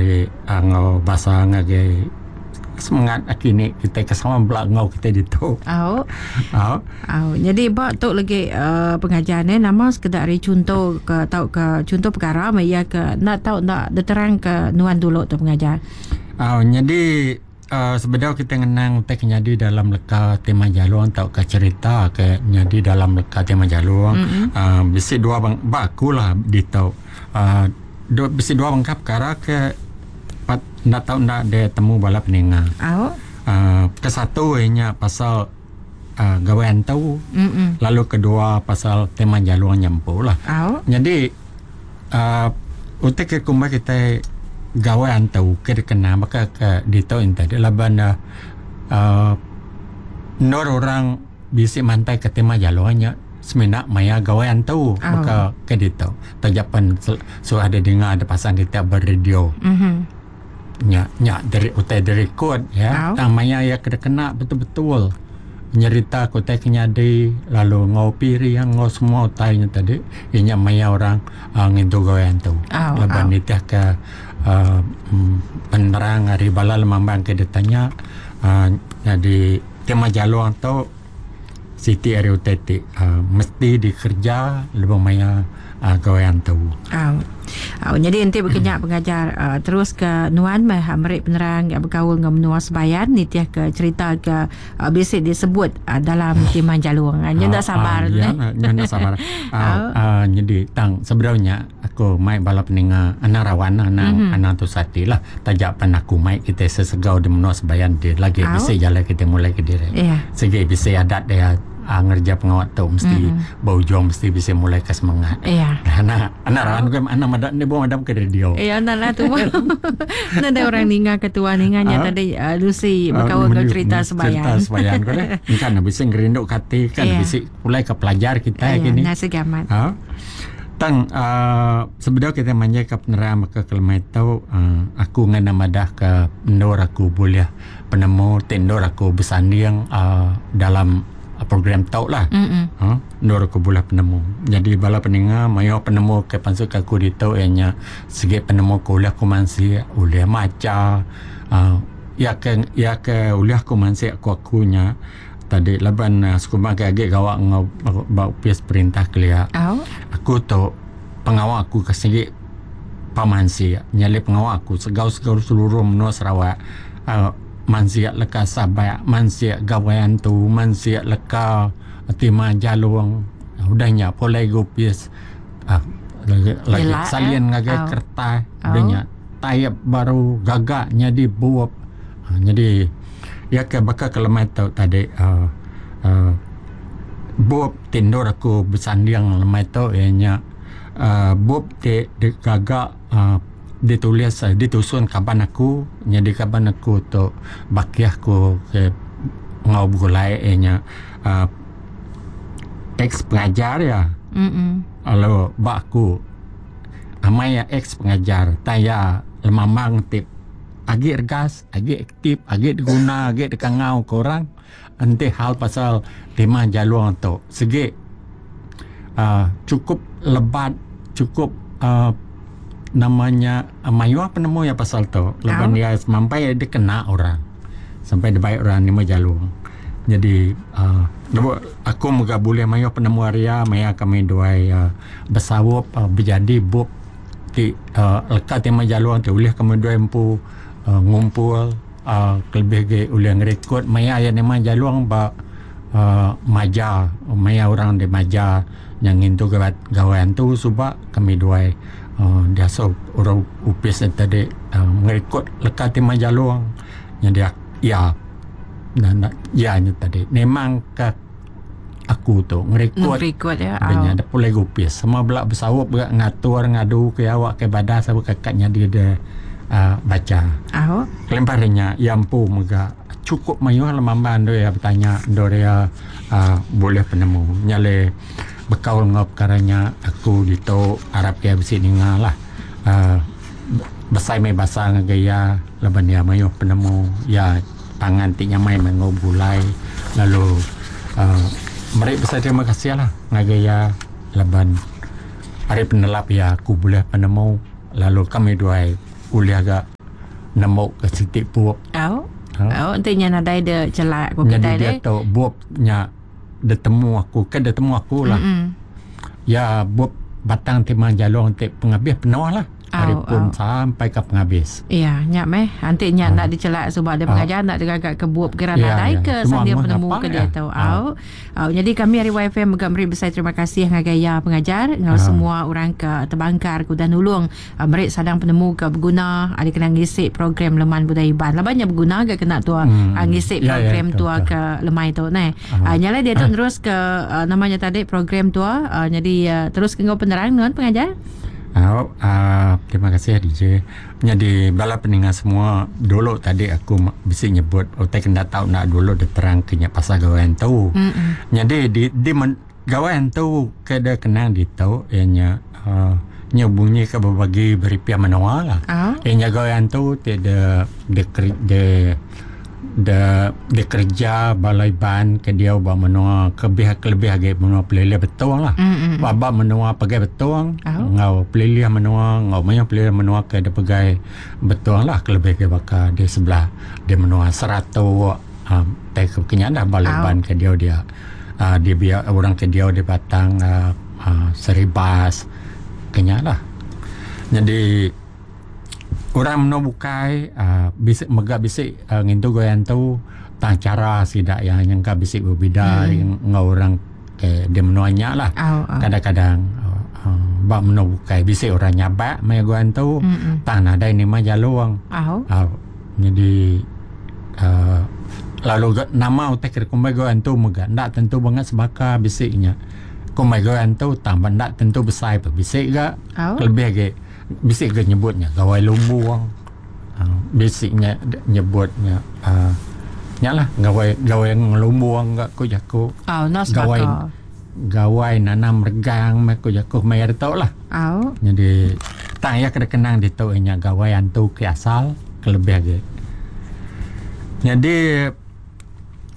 meri enggau basa ngagai semengat aki ini kitai ke sama bela enggau kitai ditu. Au. Au. Au. Nyadi ba tu lagi uh, pengajar ne nama sekeda ari chunto ke tauka chunto perkara meh iya ke enda tau enda diterang ke nuan dulu tu pengajar. Au nyadi uh, sebedau kita ngenang utai ke nyadi dalam leka tema jalung tauka cerita ke nyadi dalam leka tema jalung mm -hmm. uh, bisi dua bang, ba aku lah ditu uh, bisi dua bengkah perkara ke Pat enda tau enda deh temu bala peninga. Au. Uh, ke satu iya nya pasal uh, gawai antu. Mm-mm. Lalu kedua pasal tema jalung nya empu lah. Au. Nyadi uh, utai ke kumbai kitai gawai antu ke dikena baka ke ditu enti tadi laban uh, uh, endur orang Bisi mantai ke tema jalung nya semina maya gawai antu baka ke ditu. Taja pen suah didinga da pasang kita ba radio. Nya nya diri utai direkod ya tang maya iya ke dikena betul-betul nyerita ke utai ke nyadi lalu enggau piring enggau semua utai nya tadi iya nya maya orang uhh ngintu gawai antu. Laban nitih ke uhh penerang ari bala lemambang ke ditanya uhh nyadi. Tema jalung tu siti ari utai ti mesti dikereja lebuh maya gawai antu. Au. Au nyadi enti baka nya pengajar terus ke nuan meh meri penerang bekaul enggau menua Sebayan nitih ke cherita ke bisi disebut dalam Timah Jalung. Nya enda sabar tu neh. Nya enda sabar. Au nyadi tang sebedau nya Aku mai bala peninga anang rawan anang anang tusah ati lah taja pan aku mai kitai sesegau di menua sebayan ti lagi bisi jalai kitai mulai kediri. Sigi bisi adat dia aaa ngereja pengawa tu mesti ba ujung mesti bisi mulai ke semangat. Anak anak rawan ku anang meda enda buah madam ke radio. Iya enda lah tubuh. Nadai orang ninga ke tuan ninga nya tadi Lucy bekaul enggau cerita sebayan. Cerita sebayan ku deh. Engka ne bisi ngerindu ke ati kan bisi pulai ke pelajar kitai kini. Iya sigi amat. Tang uhh sebedau kitai manjaika penerang baka ke lemai tu uhh aku ngena madahka endur aku bulih penemu ti endur aku besanding uhh dalam program tu lah uhh endur aku bulih penemu. Nyadi bala peninga mayuh penemu ke pansut aku ditu iya nya sigi penemu ke ulih aku mansik ulih macha uhh iya ke iya ke ulih aku mansik ku aku nya. Tadi laban sekumbang ke agi gawa enggau ba opis perintah kelia. Aku tu pengawa aku ke sigi pemansik nyadi pengawa aku segau-segau seluruh menua Sarawak uhh mansik leka sabak, mansik gawai antu, mansik leka timah jalung udah nya pulai ga opis uhh lagi salin ngagai kertas udah nya taip baru gaga nyadi bup. Nyadi iya ke baka ke lemai tu tadi uhh uhh bup ti endur aku besanding lemai tu iya nya uhh bup ti digaga uhh ditulis ditusun kaban aku nyadi kaban aku tu bakih aku ke enggau begulai iya nya uhh ex pengajar iya lalu ba aku amai iya ex pengajar tang iya lemambang ti. Agi regas, agi aktif, agi diguna, agi dikangau ke orang enti hal pasal tema jalung tu sigi uhh chukup lebat chukup uhh nama nya mayuh penemu iya pasal tu laban iya semampai dikena orang sampai dibai orang nyema jalung. Jadi uhh lebuh aku mega bulih mayuh penemu ari iya maya kami duai besaup bejadi bup. Ti leka ti meh jalung ti ulih kami duai empu uhh ngumpul uhh kelebih agi ulih ngerekod maya iya nemah jalung ba uhh maja maya orang di maja nya ngintu gawai antu suba kami duai uhh diasuh orang opis ne tadi uhh ngerekod leka ti meh jalung nyadi iya iya nya tadi memang ka. Aku tu ngerikod Ngerikod ya. Udah nya dep pulai gupis. Semua bela besaup ga ngatur ngadu ke awak ke badas awak ke ka nyadi de uhh bacha. Au. Kelimpah ari nya iya empu mega chukup mayuh lemambang endur iya betanya endur iya uhh bulih penemu. Nya alai bekaul enggau pekara nya aku ditu arap iya bisi ninga lah uhh besai meh basa ngagai iya laban iya mayuh penemu iya. Pangan ti nyamai meh enggau begulai lalu uhh meri besai terima kasih lah ngagai iya laban ari penelap iya aku bulih penemu lalu kami duai ulih ga. nemu ke siti bup. Au. Au enti nya nadai de chelak ku kitai deh. Nyadi diatu bup nya ditemu aku ke ditemu aku lah. Mm -mm. Ya bup batang timang jalung ti pengabis penuh lah. Ari pun sampai ke pengabis. Ya, nya meh. Enti nya enda dichelak suba dia pengajar enda digaga ke bup kira nadai ke sanding penemu ke diatu. Au. Au nyadi kami ari YFM mega meri besai terima kasih ngagai iya pengajar enggau semua orang ke tebangkar ke udah nulung meri sadang penemu ke beguna ari kena ngisi program Leman Budaya Iban. Laban nya beguna ga kena tua ngisi program tua ke lemai tu neh. Nya alai diatu nerus ke nama nya tadi program tua nyadi terus ke enggau penerang nuan pengajar. Au uhh terima kasih DJ. Nyadi bala peninga semua dulu tadi aku bisi nyebut utai ke enda tau enda dulu diterang ke nya pasal gawai antu. Nyadi di di gawai antu ke da kenang ditu iya nya uhh nya bunyi ke bebagi beripih menua lah. Iya nya gawai antu ti de de de de dikereja bala Iban ke diau ba menua ke lebih kelebih agi menua pelilih Betong lah. Ba ba menua pegai Betong enggau pelilih menua enggau mayuh pelilih menua ke dipegai Betong lah kelebih agi baka di sebelah di menua Saratok um tai ke kinya dah bala Iban ke diau dia um di biak orang ke diau di Batang um Saribas kinya lah. Nyadi Orang menua bukai uhh bisi mega bisi uhh ngintu gawai antu tang chara sida iya nyangka bisi bebida enggau orang ke di menua nya lah. Kadang-kadang uhh ba menua bukai bisi orang nyabak maya gawai antu tang nadai nima jalung. Au nyadi uhh lalu ga nama utai ke dikumbai gawai antu mega enda tentu bangat sebaka bisi nya. Kumbai gawai antu tang ba enda tentu besai pun bisi ga kelebih agi. Bisi ga nyebut nya gawai lumbung uhh bisi nya nyebut nya uhh nya lah gawai gawai ngelumbung ga ku jaku gawai gawai nanam regang meh ku jaku maya ditu lah. Nyadi tang iya ke dikenang ditu iya nya gawai antu ke asal ke lebih agi. Nyadi.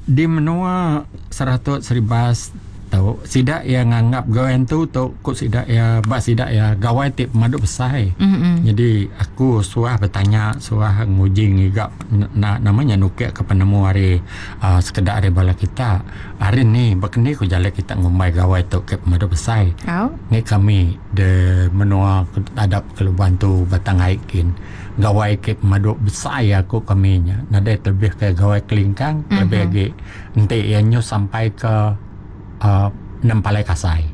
Di menua Saratok Seribas tu sida iya nganggap gawai antu tu ku sida iya ba sida iya gawai ti pemadu besai. Nyadi aku suah betanya suah nguji ngiga nama nya nukik ka penemu ari uhh sekeda ari bala kita. Hari ni baka ni ku jalai kita ngumbai gawai tu ke pemadu besai. Ngi kami de menua adap ke Lubang Antu Batang Ai kin. Gawai ke pemadu besai aku kami nya nadai telebih ke gawai kelingkang kelebih agi enti iya nyu sampai ke uhh nempalai kasai.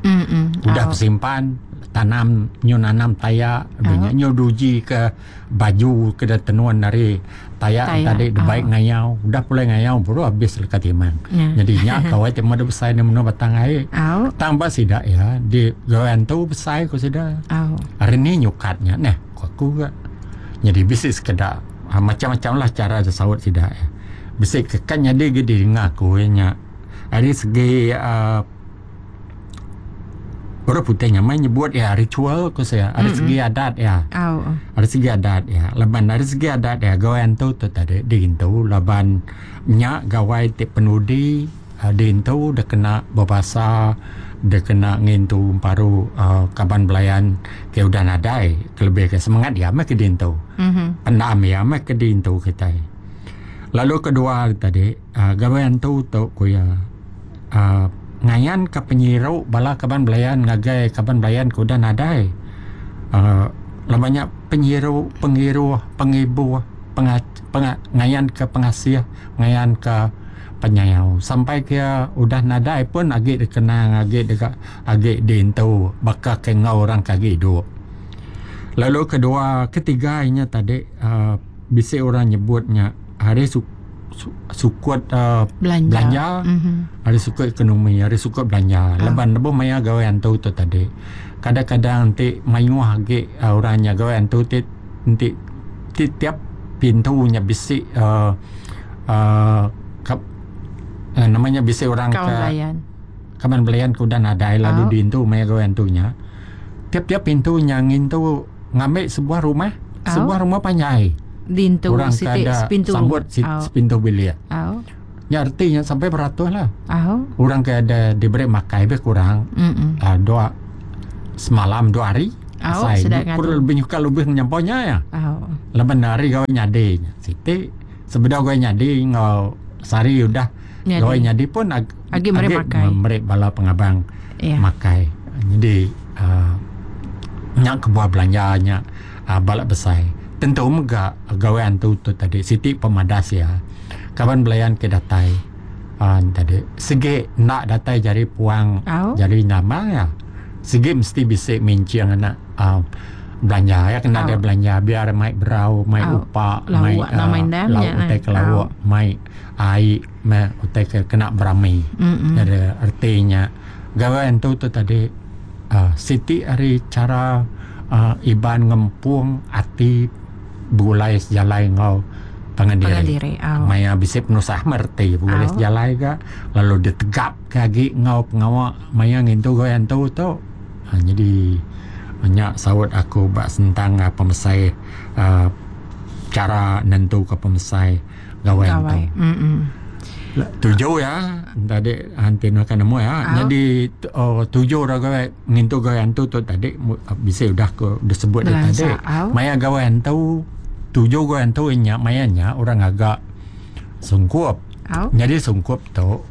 Udah besimpan tanam nyu nanam taya udah nya nyu duji ke baju ke da tenun ari taya tadi da bai ngayau udah pulai ngayau baru abis leka timang. Nyadi nya gawai ti pemadu besai di menua Batang Ai. Tang ba sida iya di gawai antu besai ku sida. Hari ni nyukat nya neh. Ku aku ga. Nyadi bisi sekeda macam-macam lah chara saut sida iya. Bisi ke kan nyadi ga didinga aku iya nya ari segi uhh orang putih nyamai nyebut iya ritual ku sia ari segi adat iya. Ari segi adat iya laban ari segi adat iya gawai antu tu tadi diintu laban nya gawai ti penudi. Diintu dikena bebasa dikena ngintu emparu kaban belayan ke udah nadai kelebih ke semengat iya meh ke diintu. Pendam iya meh ke diintu kitai. Lalu kedua tadi gawai antu tu ku iya uhh ngayanka penyiru bala kaban belayan ngagai kaban belayan ke udah nadai uhh laban nya penyiru, pengiruh, pengibuh, ngayanka pengasih, ngayanka penyayau sampai ke iya udah nadai pun agi dikenang agi deka agi diintu baka ke enggau orang ke agi idup. Lalu kedua ketiga inya tadi uhh bisi orang nyebut nya hari su sukut uhh belanja hari sukut ekonomi hari sukut belanja laban lebuh maya gawai antu tu tadi kadang-kadang enti mayuh agi orang nya gawai antu ti enti ti tiap pintu nya bisi uhh uhh nama nya bisi orang ke kaban belayan ke udah nadai lalu diintu maya gawai antu nya. Tiap-tiap pintu nya ngintu ngambi sebuah rumah, sebuah rumah panjai. Dintu Orang ke siti ada sepintu. sambut si, sepintu bilik. Au. Nya reti nya sampai beratus lah. Au. Orang ke ada diberi makai lebih kurang Mm-mm. uh, dua semalam dua hari. Au, sida ngadu. Perlu lebih nyuka lebih nyampau nya ya. Au. Laban hari gawai nyadi nya. Siti sebedau gawai nyadi enggau sehari udah Nyadi. gawai nyadi pun ag, Agi meri makai. Meri bala pengabang Ya. makai. Jadi uh, nya kebuah belanja nya uh, bala besai. Tentu mega gawai antu tu tadi siti pemadas ya. Kaban belayan ke datai uh, tadi segi enda datai jari puang Au. jari nama ya. Segi mesti bisi mincing anak uh, belanja ya kena Au. dia belanja biar mai berau, mai Au. upa, Lauk mai nama endang lauk nya, utai ke lauk, mai ai, mai utai ke kena berami. Mm-mm. Jadi artinya gawai antu tu tadi uh, siti ari cara uh, Iban ngempung ati begulai sejalai enggau pangan diri. Pangan diri, au. Maya bisi penusah mereti begulai Au. sejalai ga lalu ditegap ke agi enggau pengawa maya ngintu gawai antu tu. Ha, jadi nya saut aku ba sentang uh, pemesai uh, cara nentu ke pemesai gawai antu. Gawai. Mm-mm. Tuju ya tadi anti nak nemu ya. Au. Jadi oh, tuju orang gawai ngintu gawai antu tu tadi bisa udah aku disebut dia Belansa, tadi. au. Maya gawai antu tuju gawai antu nya maya nya orang agak sungkup. Au. Jadi sungkup tu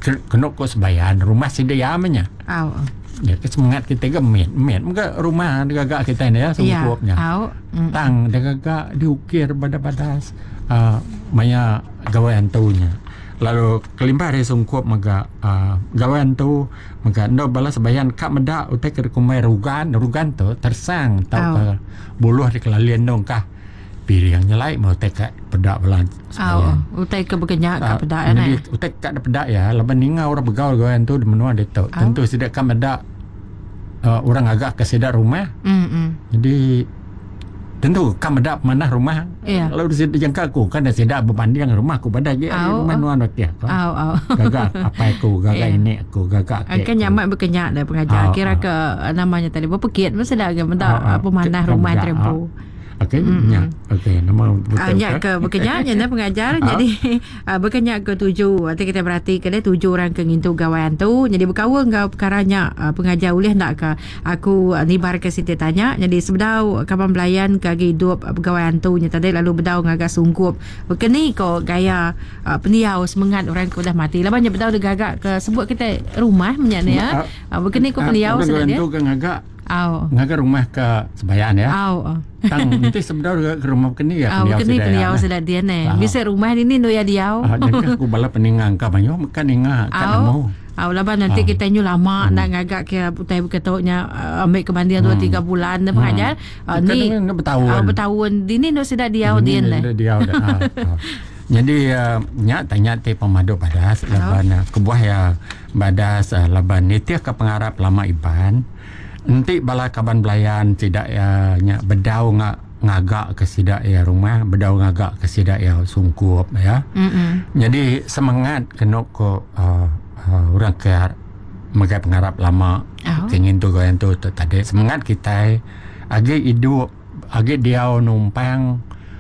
kena ko sebayan rumah sedia nya. Au. Ya ke semangat kita ke mit mit muka rumah gagak kita ni ya sungkupnya. Ya. Au. Mm. Tang dia gagak diukir pada-pada uh, maya gawai antunya. Lalu kelimpah dari sungkup mega uh, gawai antu mega ndo balas bayan kak meda utai ke kumai rugan rugan tu tersang tau Au. ke buluh di kelalian dong kah piring nyelai mau utai kak pedak belan Au. Utai ke bekenyak ka Ah, pedak jadi ne. utai kat ada pedak ya laban ninga orang begaul gawai antu di menua dia tu. Au. Tentu sidak kan meda uh, orang agak ke sidak rumah. Mm. Jadi tentu kan meda mana rumah. Ya. Lalu di sidak jangka aku kan dah sidak berbanding dengan rumah aku pada je Au. rumah nuan okey. Au au. Gagak apa aku, gagak Ya. ini aku, gagak Ah, Kan nyaman berkenyak dah pengajar. Au, Kira au. ke namanya tadi berapa kit mesti dah ke meda Au, au. apa manah Ke- rumah meda, terempu. Okey, nya. Okey, nama betul. Ah, nyak ke berkenyak nya nah pengajar. Ah. Jadi ah, berkenyak ke tuju. Nanti kita berhati ke dia tuju orang ke ngintu gawai antu. Jadi berkawan ngau perkara nya ah, pengajar boleh nak ke aku ah, nibar ke siti tanya. Jadi sebedau kaban belayan ke agi hidup ah, pegawai antu nya tadi lalu bedau ngagak sungkup. Berkeni ko gaya ah, pendiau semangat orang ke udah mati. Laban nya bedau dia gagak ke sebut kita rumah menyak ni ya. Ah, berkeni ko pendiau orang sudah dia. tu ke ngagak Au. ngagak rumah ke sebayan ya. Au. Tang nanti sebenar ke rumah keni ya Ah, berkeni pendiau ya. sudah dia ne. Ah. Bisa rumah ini nu ya diau. Ah, jadi aku bala peningang ka banyo makan ninga ka Au. nemu. Au laban nanti Ah. kita nyu lama nak ngagak ke utai beketoknya ambil ke banding 2 3 bulan dah pengajar. Ah, Kan ni ni bertahun. Ah, bertahun. Dini nu sudah diau Ini dia ne. dia diau dah. Ah, ah. Jadi uh, nya tanya ti pemadu badas laban uh, kebuah ya badas uh, laban nitih ke pengarap lama Iban. Enti bala kaban belayan tidak ya nya bedau ngak ngagak ke sidak ya rumah, bedau ngagak ke sidak ya sungkup ya. Mm. Jadi semangat kena ko uh, uh, orang ke megai pengarap lama Oh. kengin tu goyan tu, tu tadi semangat kita agi hidup agi dia numpang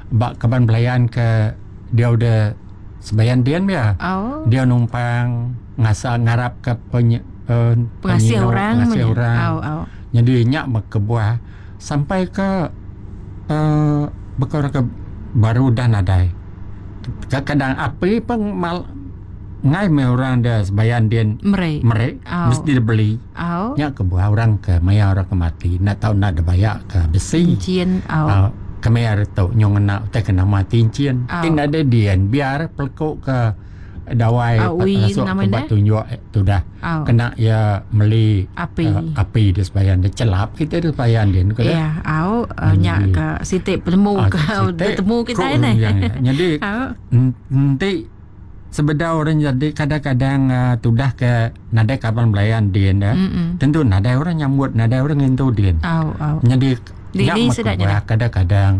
bak kaban belayan ke dia udah sebayan dian ya Au. dia numpang ngasa ngarap ke penye, uh, Pengasih penyino, orang. pengasih punya. orang Au au. jadi nyak berkebuah sampai ke uh, bekor ke baru dah nadai. Kadang-kadang api pun mal ngai me orang dah sebayan dia Merek. merek Au. mesti dia beli. Au. Nyak kebuah orang ke maya orang ke mati nak tahu nak ada bayar ke besi. Cincin au. Uh, kemer tu nyong nak utai kena mati cincin. Au. Tin ada dian biar pelekuk ke dawai Au, ui, masuk nama ke dia? batu tunjuk tu dah. Au. Kena ya meli Api. api dia sebayan dia celap kita dia sebayan dia ke Ya, au uh, nyak ke sitik penemu Ah, ke sitik, bertemu kita kok ni. yang- Jadi Au. nanti sebedau orang jadi kadang-kadang uh, tudah ke nadai kapan belayan dia dah. Mm-mm. Tentu nadai orang nyambut, nadai orang ngintu dia. Au au. Jadi Di- nyak di mak sedaknya kebuah, kadang-kadang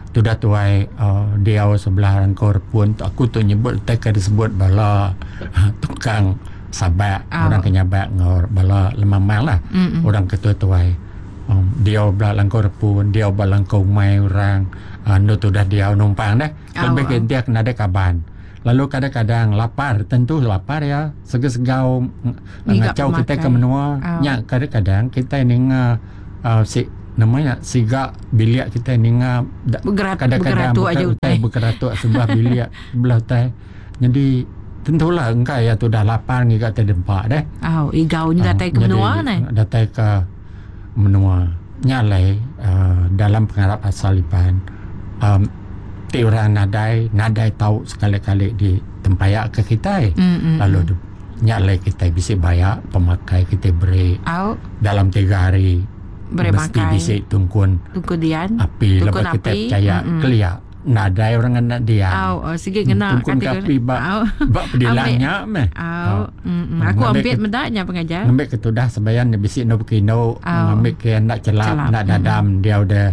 tudah tuai uh, dia sebelah rangkor pun aku tu nyebut tak disebut bala uh, tukang sabak Ah. orang kenyabak ngor bala lemamang lah Mm-mm. orang ketua tuai um, dia belah langkor pun dia belah langkor umai orang uh, nu tu dah dia numpang dah Au, lebih au. ke dia kena ada kaban lalu kadang-kadang lapar tentu lapar ya sega-segau Ngiga ngacau kita ke pemakai. menua Au. nya kadang-kadang kita ni uh, si Nama nya siga bilik kitai ninga kadang-kadang Begeratuk aja utai utai. Begeratuk sebelah bilik sebelah utai. Nyadi tentulah engka iya tudah lapar ngiga tai dempa deh. Au igau nya datai ke menua neh. Datai ke menua. Nya alai uhh dalam pengarap asal Iban uhh ti orang nadai nadai tau sekali-kali di tempaya ke kitai lalu nya alai kitai bisi baya pemakai kitai beri dalam tiga hari. Beri Mesti makai. bisi tungkun Tungkun dian. api Tungkun laban kitai api. pechaya Mm-mm. kelia nadai orang ngena dian. Au, oh, sigi ngena Tungkun kati ke ku api ba Au. ba pedilang Ambi. nya meh. Au. Au. Mm-mm. Aku Ngambi ampit ke meda nya pengajar. ngambi ke tudah sebayan nya bisi enda bekindu Au. ngambi ke enda chelap Chelap. enda Mm-mm. dadam diau deh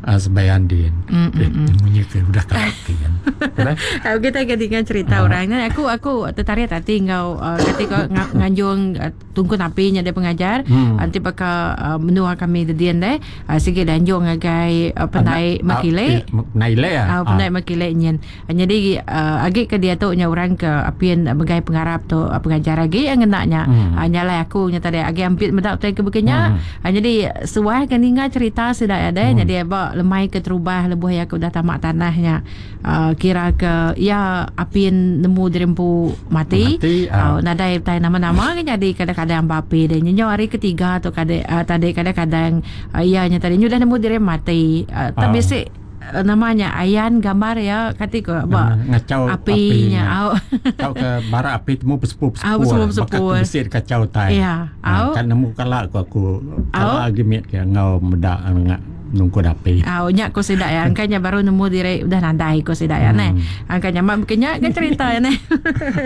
uh, sebayan din. Mm, Eh, mm, mm. munyi ke udah karaoke kan. Udah. Aku kita ke dengar cerita Ah. orang ni aku aku tertarik hati enggau uh, kati ko nganjung uh, Tungkun api nya deh pengajar. Hmm. Enti baka uh, menua kami dedin deh, uh, sigi danjung ngagai uh, pendai Makile. Pendai ile ya. Uh, pendai Makile nyin. Uh, jadi uh, agi ke diatu nya orang ke apin megai pengarap tu uh, pengajar agi yang ngena nya. Hmm. Uh, nyalai aku nya tadi agi ampit meda utai ke bekenya. Hmm. Uh, jadi suah ke ninga cerita sida ya deh. Hmm. Jadi ba lemai ke terubah lebuh ya ke udah tamak tanah nya. Uh, kira ke iya apin nemu diri empu mati, Mati, uh, nadai utai nama-nama ke nyadi kadang-kadang ba api deh. Nyenyo hari ketiga tu kade uh, tadi kadang-kadang uh, iya nya tadi nyudah nemu diri mati. Uh, tak bisi uh, namanya ayan gambar ya kati ko ba ngacau api nya au. Tau ke bara api temu pesepu-pesepu. Au pesepu-pesepu. Baka bisi kacau tai. Ya, au. Kan nemu kala aku aku kala agi mit ke ngau meda ngak nungkun api. Au nya ko sida ya angka nya baru nemu diri udah nadai ko sida ya neh. Angka nya mak bekenya ke cerita ya neh.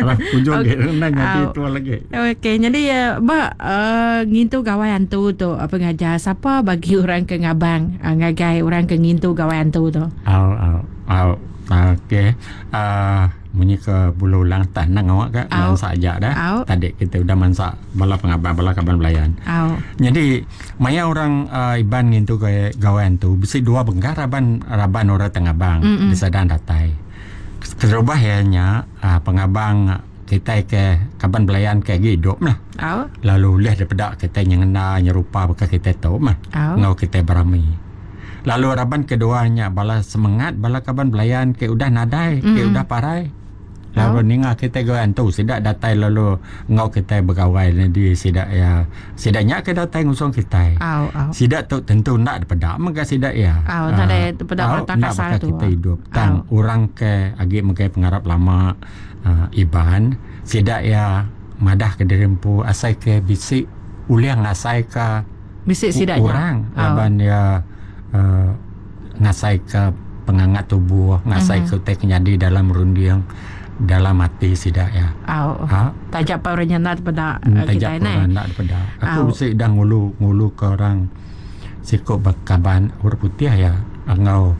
Alah ujung ge nang nyadi Au. tua lagi. Okey jadi uh, ba uh, ngintu gawai antu tu uh, pengajar sapa bagi orang ke ngabang uh, ngagai orang ke ngintu gawai antu tu. Au au au okey. Uh, munyi ke bulu ulang tah nang awak ka mansa aja dah. Tadi kita udah mansa bala pengabang bala kaban belayan. Au. Jadi maya orang uh, Iban ngintu gawai antu bisi dua bengkah raban raban orang tengabang Mm -mm. disadang datai. Keterubah iya nya uh, pengabang kitai ke kaban belayan ke agi idup lah. Au. Lalu ulih dipeda kitai nyengenda nyerupa baka kitai tu mah Au. enggau kitai berami. Lalu raban kedua nya bala semengat bala kaban belayan ke udah nadai, ke Mm. udah parai. Lalu Au. ninga kitai gawai antu sida datai lalu enggau kitai begawai nyadi sida iya sida nya ke datai ngusung kitai. Au au. Sida tu tentu enda dipeda mega sida iya. Au nadai dipeda Au mata enda kasar baka tu. kitai idup. Tang Au. orang ke agi megai pengarap lama uh, Iban sida iya madah ke diri empu asai ke bisi ulih ngasai ke Bisi sida nya. orang Au. laban iya uh, ngasai ke pengangat tubuh, ngasai Mhm. ke utai ke nyadi dalam runding, dalam ati sida iya. Au. Ha? Taja pa orang nya enda dipeda Hmm, uh, Taja kitai pa neh. orang enda dipeda. Aku Au. bisi dah ngulu ngulu ke orang siku bekaban orang putih iya enggau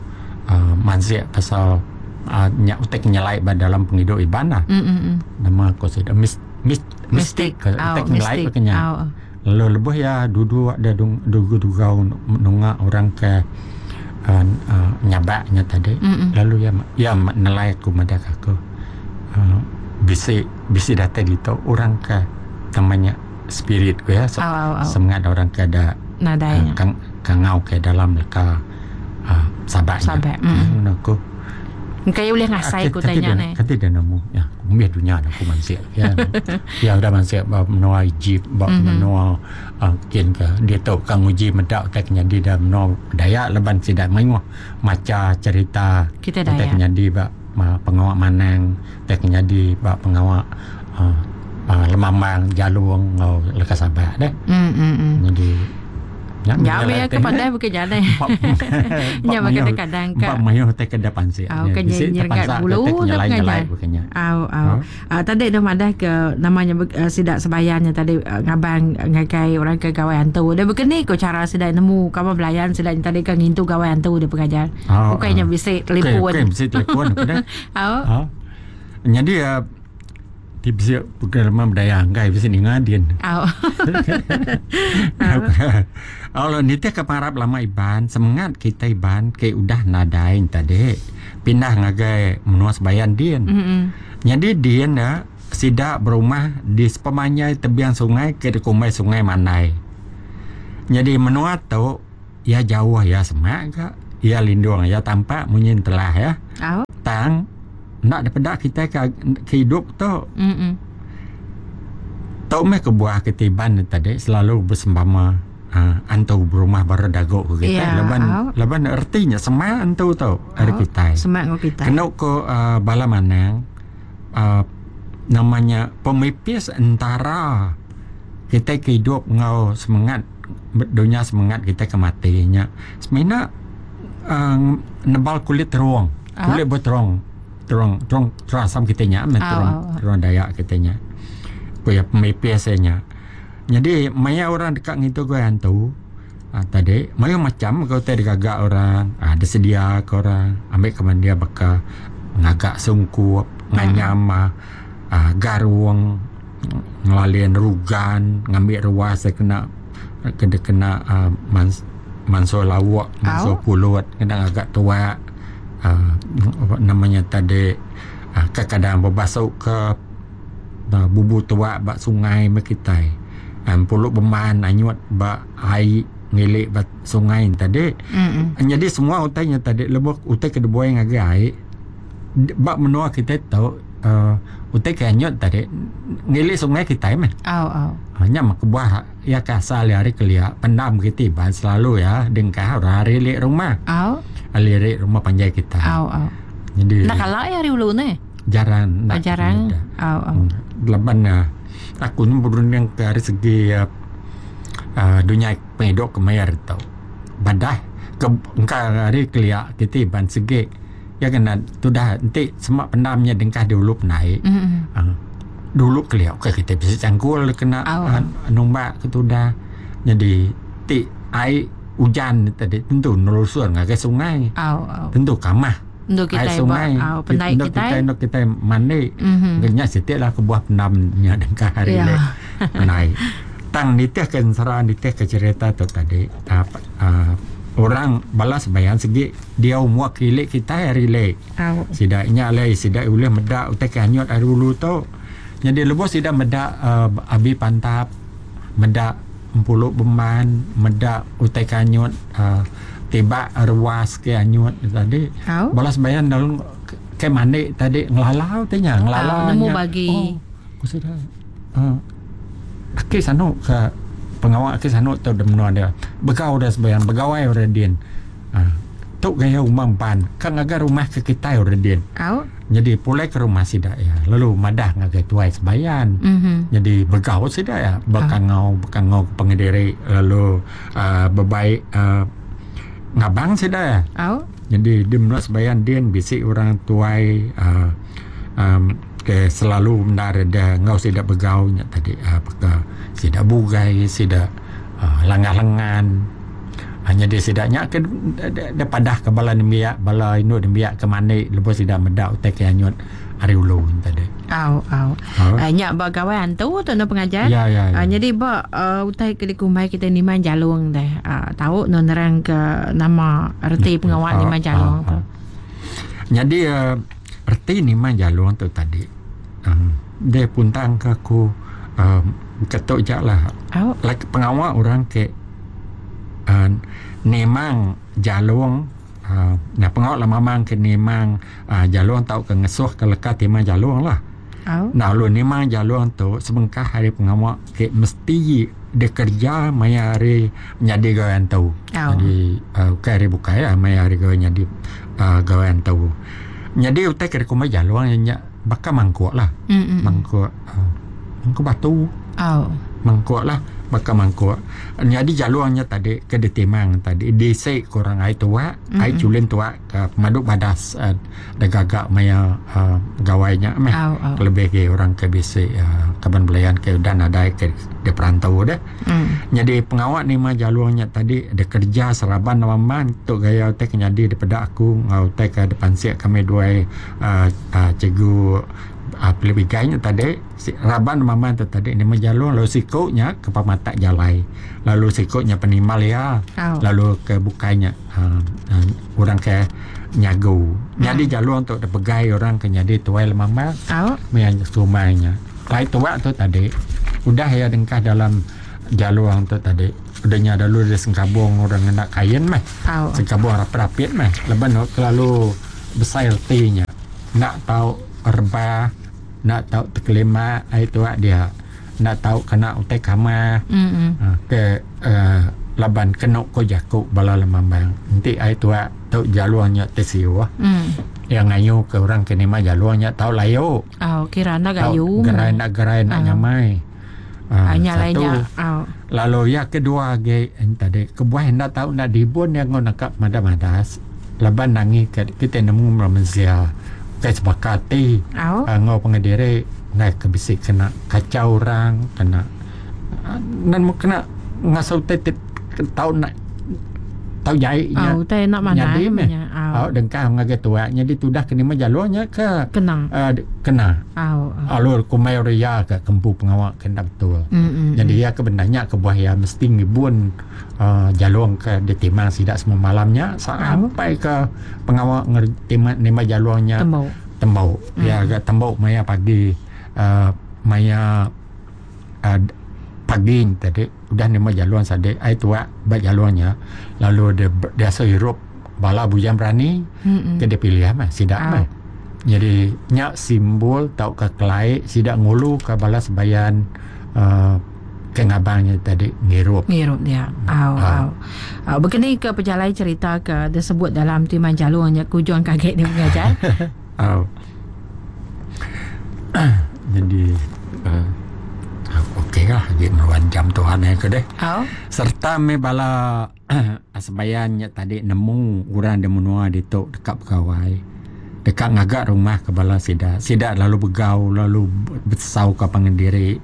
uh, mansik pasal uh, nya utai ke nyelai ba dalam pengidup Iban lah. Mm mm mm. Nama ko sida mis, mis, Mistik. mistik ke Au, utai ke nyelai mistik. ba ke nya. Au. Lalu lebuh iya duduk dia dung dugu-dugau nunga orang ke uh, uh, nyabak nya tadi. Mm-mm. Lalu iya iya nelai aku madah ke aku uh, bisi bisi datai ditu orang ke namanya spirit ku ya Au au au. semangat orang ke ada Nadai uh, nya. kang kangau ke dalam leka uh, sabak nya. Sabak. Mm. Hmm, aku Engka iya ulih ngasai ku Kati tanya dia, neh. kati dia nemu. Ya, aku mih dunia aku mansik. Ya. ya udah mansik ba menua Egypt, ba Mhm. menua uh, kin ke dia tu kang uji meda utai ke nyadi da menua Dayak laban sida mayuh maca cerita Kita utai ke Dayak. nyadi ba ma, pengawa manang, utai ke nyadi ba pengawa uh, uh, lemambang, jalung enggau leka sabak deh. Mm mm mm. Jadi nya Ya menyalai meh ke teh. pandai bukan jalai. Empat Nya mayuh kadang-kadang ka empat mayuh utai ke da pansik. Au Nya ke bisi nyergat terpansak ke bulu utai ke tu nyelai-nyelai pengajar. bukannya. Au au. Ha? Uh, tadi dah madah ke namanya uh, sida sebayannya tadi uh, ngabang uh, ngagai orang ke gawai hantu. Dia begini ko cara sida nemu kawan belayan sida tadi ke ngintu gawai hantu dia pengajar. Au, Bukannya au. bisi Okey, telefon. okey, bisi telefon aku dah. Au. Ha. Jadi uh, ti bisi pengalaman budaya anggai bisi ninga din. Au. Allah nitih ke pengarap lama Iban, semangat kita Iban ke udah nadai tadi pindah ngagai menua sebayan din. Mm. Jadi din ya sida berumah di sepemanjai tebiang sungai ke dikumbai Sungai Mandai. Jadi menua tu Iya jauh iya semak ga, iya lindung iya tampak munyi entelah iya. Au. Tang enda dipeda kitai ke ke idup tu. Mm. Tu meh kebuah kitai Iban ne tadi selalu besempama uhh antu berumah baru dagu ku kitai Ya, laban au. laban reti nya semak antu tu ari Au. kitai. Semak enggau kitai. Kenu ku uhh bala manang uhh nama nya pemipis entara kitai ke idup enggau semengat dunya semengat kitai ke mati nya semina uhh nebal kulit terung kulit ba terung terung terung terung asam kitai nya meh terung terung Dayak kitai nya ku iya pemipis iya nya. Nyadi maya orang deka ngintu gawai antu uhh tadi mayuh macam ga utai digaga orang uhh disedia ka orang ambi ke mandi baka ngaga sungkup nganyam uhh garung. Ngelalin rugan ngambi ruas da kena ke dikena uhh mansuh lauk mansuh pulut kena ngaga tuak uhh nama nya tadi uhh kadang bebasu ka bubu tuak ba sungai meh kitai uhh pulut beman anyut ba ai ngili ba sungai ne tadi. Nyadi semua utai nya tadi lebuh utai ke dibuai ngagai ai ba menua kitai tu uhh utai ke anyut tadi ngili sungai kitai meh. Au au. Nya meh kebuah iya ke asal iya ari kelia pendam kiti ba selalu iya dengkah orang ari ili rumah. Au. Ali iri rumah panjai kitai. Au au. Jadi Enda kala iya ari ulu neh. Jarang enda. Jarang. Au au. Laban aku ni berunding ke ari segi uhh dunya pengidup ke maya ditu. Badah ke engka ari kelia kiti ban segi. Iya kena tudah enti sema pendam nya dengkah dulu penai uhh dulu kelia ukai kitai bisi changkul kena numbak ke tudah nyadi ti ai ujan tadi tentu nelusur ngagai sungai tentu kamah ai sungai enda kitai enda kitai mandi nya siti lah kebuah pendam nya dengkah ari penai tang nitih ke ensera nitih ke cherita tu tadi uhh orang bala sembahyang sigi. Diau mua ke ili kitai ari ili. Sida nya alai sida ulih meda utai ke anyut ari ulu tu. Nyadi lebuh sida meda uhh abi pantap, meda empulu beman, meda utai ke anyut uhh tibak ruas ke anyut tadi bala sebayan lalu ke mandi tadi ngelala utai nya ngelala nya. Oh ku sida uhh aki sanu ka pengawa aki sanu tu da menua dia. Begau da sebayan begawai orang din. Tu gaya umang ban ka ngaga rumah ke kitai orang din. Nyadi pulai ke rumah sida iya lalu madah ngagai tuai sebayan. Nyadi begau sida iya bekangau bekangau ke pengediri lalu uhh bebai uhh ngabang sida iya. Nyadi di menua sebayan din bisi orang tuai uhh uhh ke selalu bendar da enggau sida begau nya tadi uhh baka sida bugai sida uhh langah lengan. Nyadi sida nya ke dipadah ke bala nembiak bala indu nembiak ke mandi lebuh sida meda utai ke anyut ari ulu tadi. Au au. Nya ba gawai antu tu enda pengajar. Ya ya. Nyadi ba utai ke dikumbai kitai nimang jalung deh. Tau ne nerang ke nama reti pengawa nimang jalung tu. Nyadi reti nimang jalung tu tadi deh puntang ke aku ketu ja lah. Like pengawa orang ke uhh nimang jalung uhh nya pengawa lemamang ke nimang uhh jalung tauka ngesuh ke leka timang jalung lah. Enda lalu nimang jalung tu sebengkah ari pengawa ke mesti dikereja maya hari nyadi gawai antu. Nyadi uhh ukai hari bukai lah maya hari gawai nyadi uhh gawai antu. Nyadi utai ke dikumbai jalung iya nya baka mangkuk lah. Mangkuk uhh mangkuk batu. Mangkuk lah baka mangkuk. Nyadi jalung nya tadi ke ditimang tadi diisi ke orang ai tuak, ai chulin tuak ke pemadu badas uhh da gaga maya uhh gawai nya meh. Kelebih agi orang ke bisi uhh kaban belayan ke udah nadai ke diperantau deh. Nyadi pengawa nima jalung nya tadi dikereja seraban raban tu gaya utai ke nyadi dipeda aku enggau utai ke dipansik kami duai uhh cikgu Philip Igai nya tadi. Raban maman tu tadi nama jalung lalu siku nya ke pematak jalai lalu siku nya penimbal iya lalu ke bukai nya uhh orang ke nyagu. Nyadi jalung tu dipegai orang ke nyadi tuai lemambang maya sumai nya. Ai tuak tu tadi udah iya dengkah dalam. Jalung tu tadi udah nya lalu dia sengkabung orang ngena kain meh. Sengkabung rapit-rapit meh laban kelalu besai reti nya. Enda tau rebah, enda tau tekelimak ai tuak dia. Enda tau kena utai kamah ke laban kenu ko jaku bala lemambang enti ai tuak tu jalung nya ti siuh iya ngayu ke orang ke nima jalung nya tau layu. Tau gerai enda gerai enda nyamai. Satu lalu iya kedua agi tadi kebuah enda tau enda dibun iya enggau naka madas-madas laban nangi ke kitai nemu bala mensia ukai sebaka ati enggau pangan diri enggai ke bisi kena kachau orang kena nemu kena ngasuh utai ti tau enda tau jai nya nyadi meh au dengkah ngagai tuak nyadi tudah ke nima jalung nya ke kena lalu kumbai orang iya ke kempu pengawa ke enda betul. Nyadi iya ke bendar nya kebuah iya mesti ngibun uhh jalung ke ditimang sida semua malam nya sampai ke pengawa nima jalung nya tembu. Iya ga tembu maya pagi uhh maya uhh pagi tadi. Udah nerima jalung sadi ai tuak ba jalung nya lalu dia diasuh irup bala bujang berani ke dipilih meh sida meh. Jadi nya simbol tauka kelai sida ngulu ka bala sebayan uhh ke ngabang nya tadi ngirup. Ngirup dia. Au au. Au bekeni ke pejalai cerita ke disebut dalam Timang Jalung nya ke ujung ke agi dia pengajar. Au. Jadi uh, okey lah agi meruan jam Tuhan ya ke deh. Au. Serta meh bala sebayan nya tadi nemu orang di menua ditu deka begawai. Deka ngaga rumah ke bala sida. Sida lalu begau lalu besau ka pangan diri.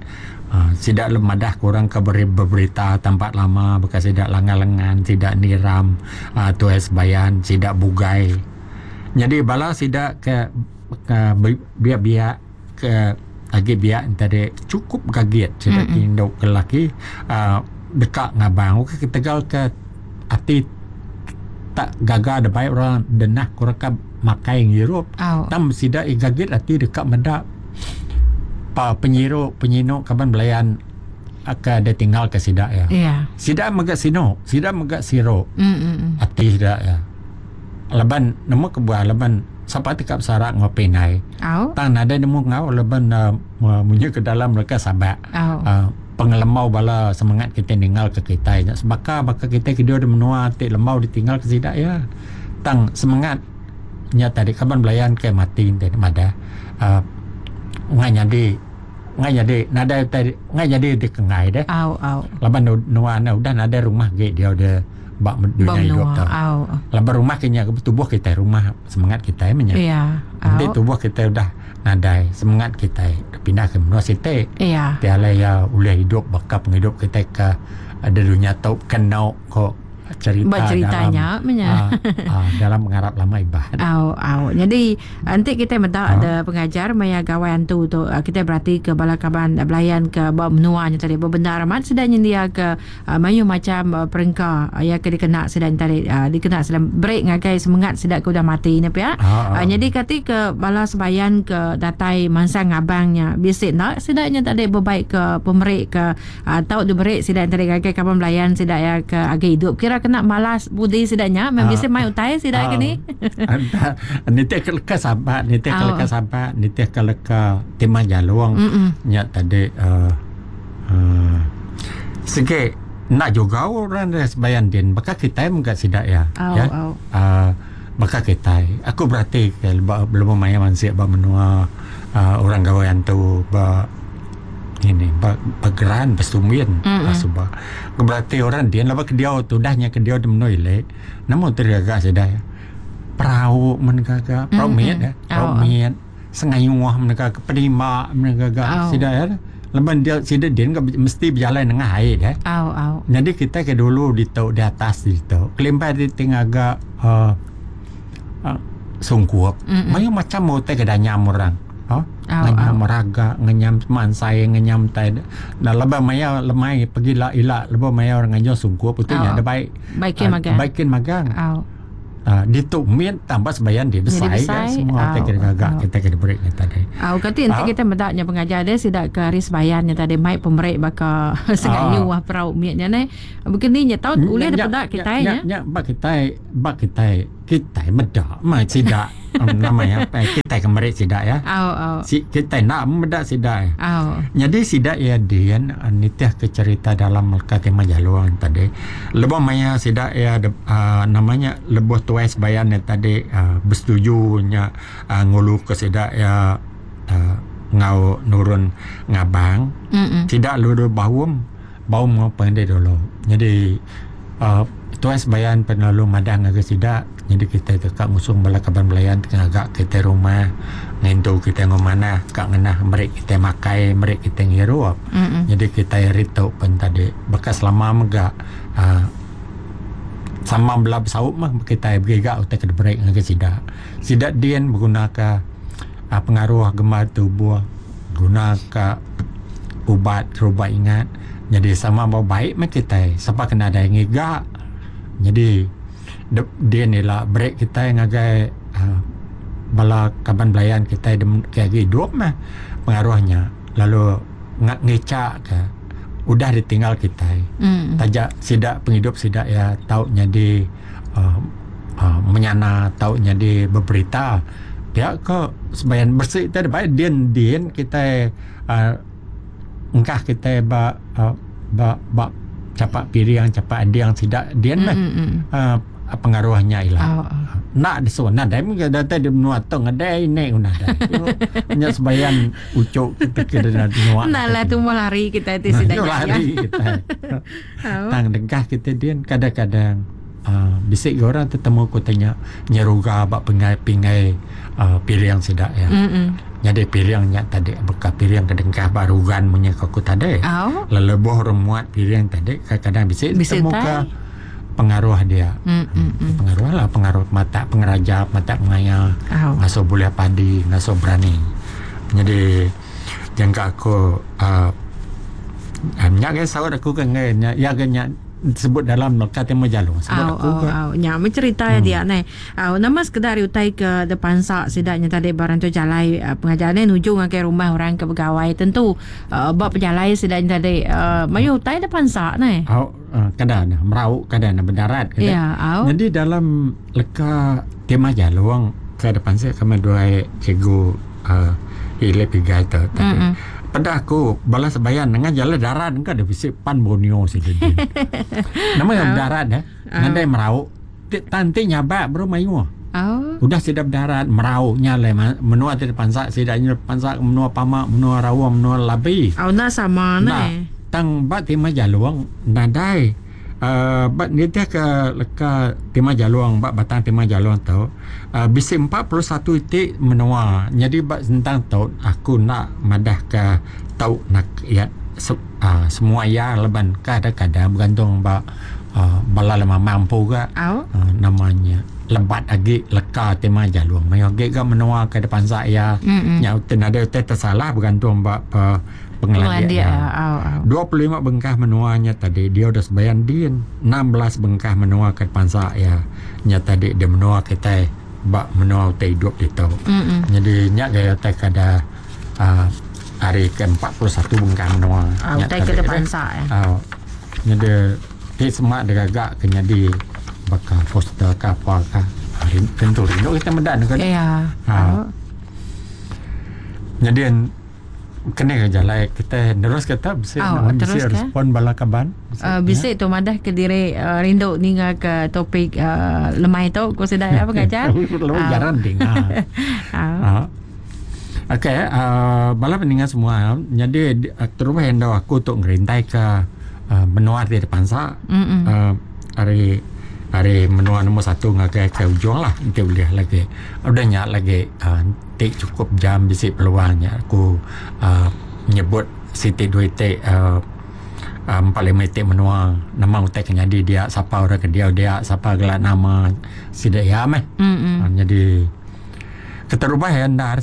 Uh, sida lalu madah ke orang ke beri beberita tempat lama baka sida langan lengan, sida niram uh, tuai sebayan, sida bugai. Nyadi bala sida ke biak-biak ke agi biak enti tadi chukup gagit sida ke indu ke lelaki uhh deka ngabang ukai ketegal ke ati tak gaga da bai orang denah ke orang ka makai ngirup tang sida gagit ati deka meda pa penyiru penyinu kaban belayan ke ditinggal ke sida iya. Sida mega sinu sida mega siru ati sida iya. Laban nemu kebuah laban sapa ti ka besara enggau pindai. Tang nadai nemu enggau laban munyi ke dalam leka sabak. Pengelembau bala semengat kitai ninggal ke kitai nya sebaka baka kitai ke diau di menua ti lembau ditinggal ke sida iya. Tang semengat nya tadi kaban belayan ke mati enti madah uhh ngai nyadi ngai nyadi nadai utai ngai nyadi ti ke enggai deh. Laban nuan udah nadai rumah agi diau de. Ba dunya idup tu. Laban rumah ke nya tubuh kitai rumah semengat kitai meh nya. Enti tubuh kitai udah nadai semengat kitai pindah ke menua siti. Ti alai iya ulih idup baka pengidup kitai ke di dunya tu keno ko cherita dalam aaa dalam pengarap lama Iban. Au au nyadi enti kitai meda de pengajar maya gawai antu tu kitai berati ke bala kaban belayan ke ba menua nya tadi bebendar amat sida nyendia ke Mayuh macham perengka iya ke dikena sida nya tadi dikena sida beri ngagai semengat sida ke udah mati nya pia. Nyadi kati ke bala sebayan ke datai mansang ngabang nya bisi enda sida nya tadi bebai ke pemeri ke tau diberi sida nya tadi ngagai kaban belayan sida iya ke agi idup kira kena malas budi sida nya meh bisi mai utai sida ke ni. Nitih ke leka sabak nitih ke leka sabak nitih ke leka timah jalung nya tadi uhh. Sigi enda juga orang da sebayan din baka kitai mega sida iya ya uhh baka kitai aku berati ke ba lebuh maya mansik ba menua uhh orang gawai antu ba ini ba geran ba sumbin suba aku berati orang din laban ke diau tudah nya ke diau di menua ili nemu ti gaga sida iya perau men gaga perau mit perau mit. Sengayuh mega ke penimba mega ga sida iya laban dia sida din ga mesti bejalai nengah ai deh. Au au. Nyadi kitai ke dulu ditu di atas ditu kelimpah ari ti ngaga uhh sungkup mayuh macam utai ke danyam orang uhh ngenyam raga ngenyam mansai ngenyam tai laban maya lemai pegila ila lebuh maya orang nganjung sungkup utai nya da bai Baikin magang. Baikin magang. Au. Ditu mit tambah sebayan dia besai ga semua utai ke digaga kita ke diberi nya tadi. Au kati enti kita meda nya pengajar dia sida ke ari sebayan nya tadi mai pemeri baka sengayu ah perau mit nya neh. Begini nya tau ulih dipeda kitai nya. Nya ba kitai ba kitai kitai meda meh sida nama iya kitai ke meri sida iya. Au au. Si kitai enda meda sida iya. Au. Nyadi sida iya din nitih ke cherita dalam leka Timah Jalung tadi lebuh maya sida iya uhh nama nya lebuh tuai sebayan nya tadi uhh besetuju nya uhh ngulu ke sida iya uhh enggau nurun ngabang sida lalu baum. Baum enggau pengedih dulu. Nyadi uhh tuai sebayan pen lalu madah ngagai sida nyadi kitai deka ngusung bala kaban belayan ti ngaga kitai rumah ngintu kitai enggau manah ka ngenah meri kitai makai meri kitai ngirup. Nyadi kitai ari tu pen tadi baka selama mega uhh sama bela besaup meh kitai begiga utai ke diberi ngagai sida. Sida din begunaka uhh pengaruh gembar tubuh guna ka ubat terubat ingat nyadi sama ba baik meh kitai sapa ke nadai ngiga nyadi din ila beri kitai ngagai uhh bala kaban belayan kitai ke agi idup meh pengaruh nya lalu ngicha ka udah ditinggal kitai taja sida pengidup sida iya tau nyadi uhh menyana tau nyadi beberita pia ko sebayan besi ti dibai din din kitai uhh engkah kitai ba ba ba chapak piring chapak ading sida din meh uhh pengaruh nya ila. Enda disu nadai mega datai di menua tu ngadai ini ku nadai. Nya sebayan uchu kita ke nyua. Enda lah tumbuh lari kitai ti sida nya. Lari kitai. Tang dengkah kitai din kadang-kadang uhh bisi ga orang tetemu ku ti nya nyeruga ba penggai pinggai uhh piring sida iya. Nyadi piring nya tadi baka piring ke dengkah ba rugan munyi ku aku tadi. Lalu lebuh orang muat piring tadi kadang-kadang bisi tetemu ka pengaruh dia. Pengaruh lah pengaruh matak pengeraja matak pengaya ngasuh bulih padi ngasuh berani. Nyadi jangka aku uhh nya ga saut aku ke enggai nya iya ga nya sebut dalam leka ti mejalu sebut Au aku au ga. au nya meh cerita iya dia neh. Au nama sekeda ari utai ke depansa sida nya tadi ba rantu jalai pengajar neh nuju ngagai rumah orang ke begawai tentu uhh ba pejalai sida nya tadi uhh mayuh utai depansa neh. Au kada ne merau kada ne bedarat kada. Ya au. Nyadi dalam leka tema jalung ke depansa kami duai cikgu uhh Philip Igai tu tadi. Peda aku bala sebayan nengah jalai darat engka deh bisi pan Borneo sida din. Nama iya bedarat deh nadai merau ti tan ti nyabak baru mayuh. Udah sida bedarat merau nya alai menua ti dipansa sida nya pansa menua pama menua raung menua labi. Au enda sama neh. Tang ba Timah Jalong nadai. uhh ba nitih ke leka Timah Jalong ba batang Timah Jalong tu uhh bisi 41 iti menua nyadi ba sentang tu aku enda madah ka tau nak iya uhh semua iya laban kadang kadang begantung ba uhh bala lemambang empu ga uhh nama nya lebat agi leka Timah Jalong mayuh agi ga menua ke dipansa iya nya nadai utai tersalah begantung ba pengelandik iya. 25 bengkah menua nya tadi dia udah sebayan din. 16 bengkah menua ke pansa iya nya tadi di menua kitai ba menua utai idup ditu. Nyadi nya gaya utai ke ada uhh hari ke 41 bengkah menua nya tadi. Au nyadi ti sema digaga ke nyadi baka poster ke apa ka tentu rindu kita meda ne. Nyadi Kena ke jalai kitai nerus ke tu bisi oh, bisi respon bala kaban. Bisi, uh, bisi tu madah ke diri uh, rindu ninga ke topik uh, lemai tu ku sida ya pengajar. Lalu uh. jarang dengar. uh. Okey, uh, bala peninga semua, jadi uh, terubah endo aku tu ngerintai ke uh, menua ti dipansa. Mm -mm. Uh, ari ari menua nombor satu ngagai ke ujung lah enti ulih lagi. Udah nya lagi uh, Ti chukup jam bisi peluang nya aku uhh nyebut siti dua iti uhh empat lima iti menua nama utai ke nyadi dia sapa orang ke diau dia sapa gela nama sida iya meh. Nyadi keterubah iya endar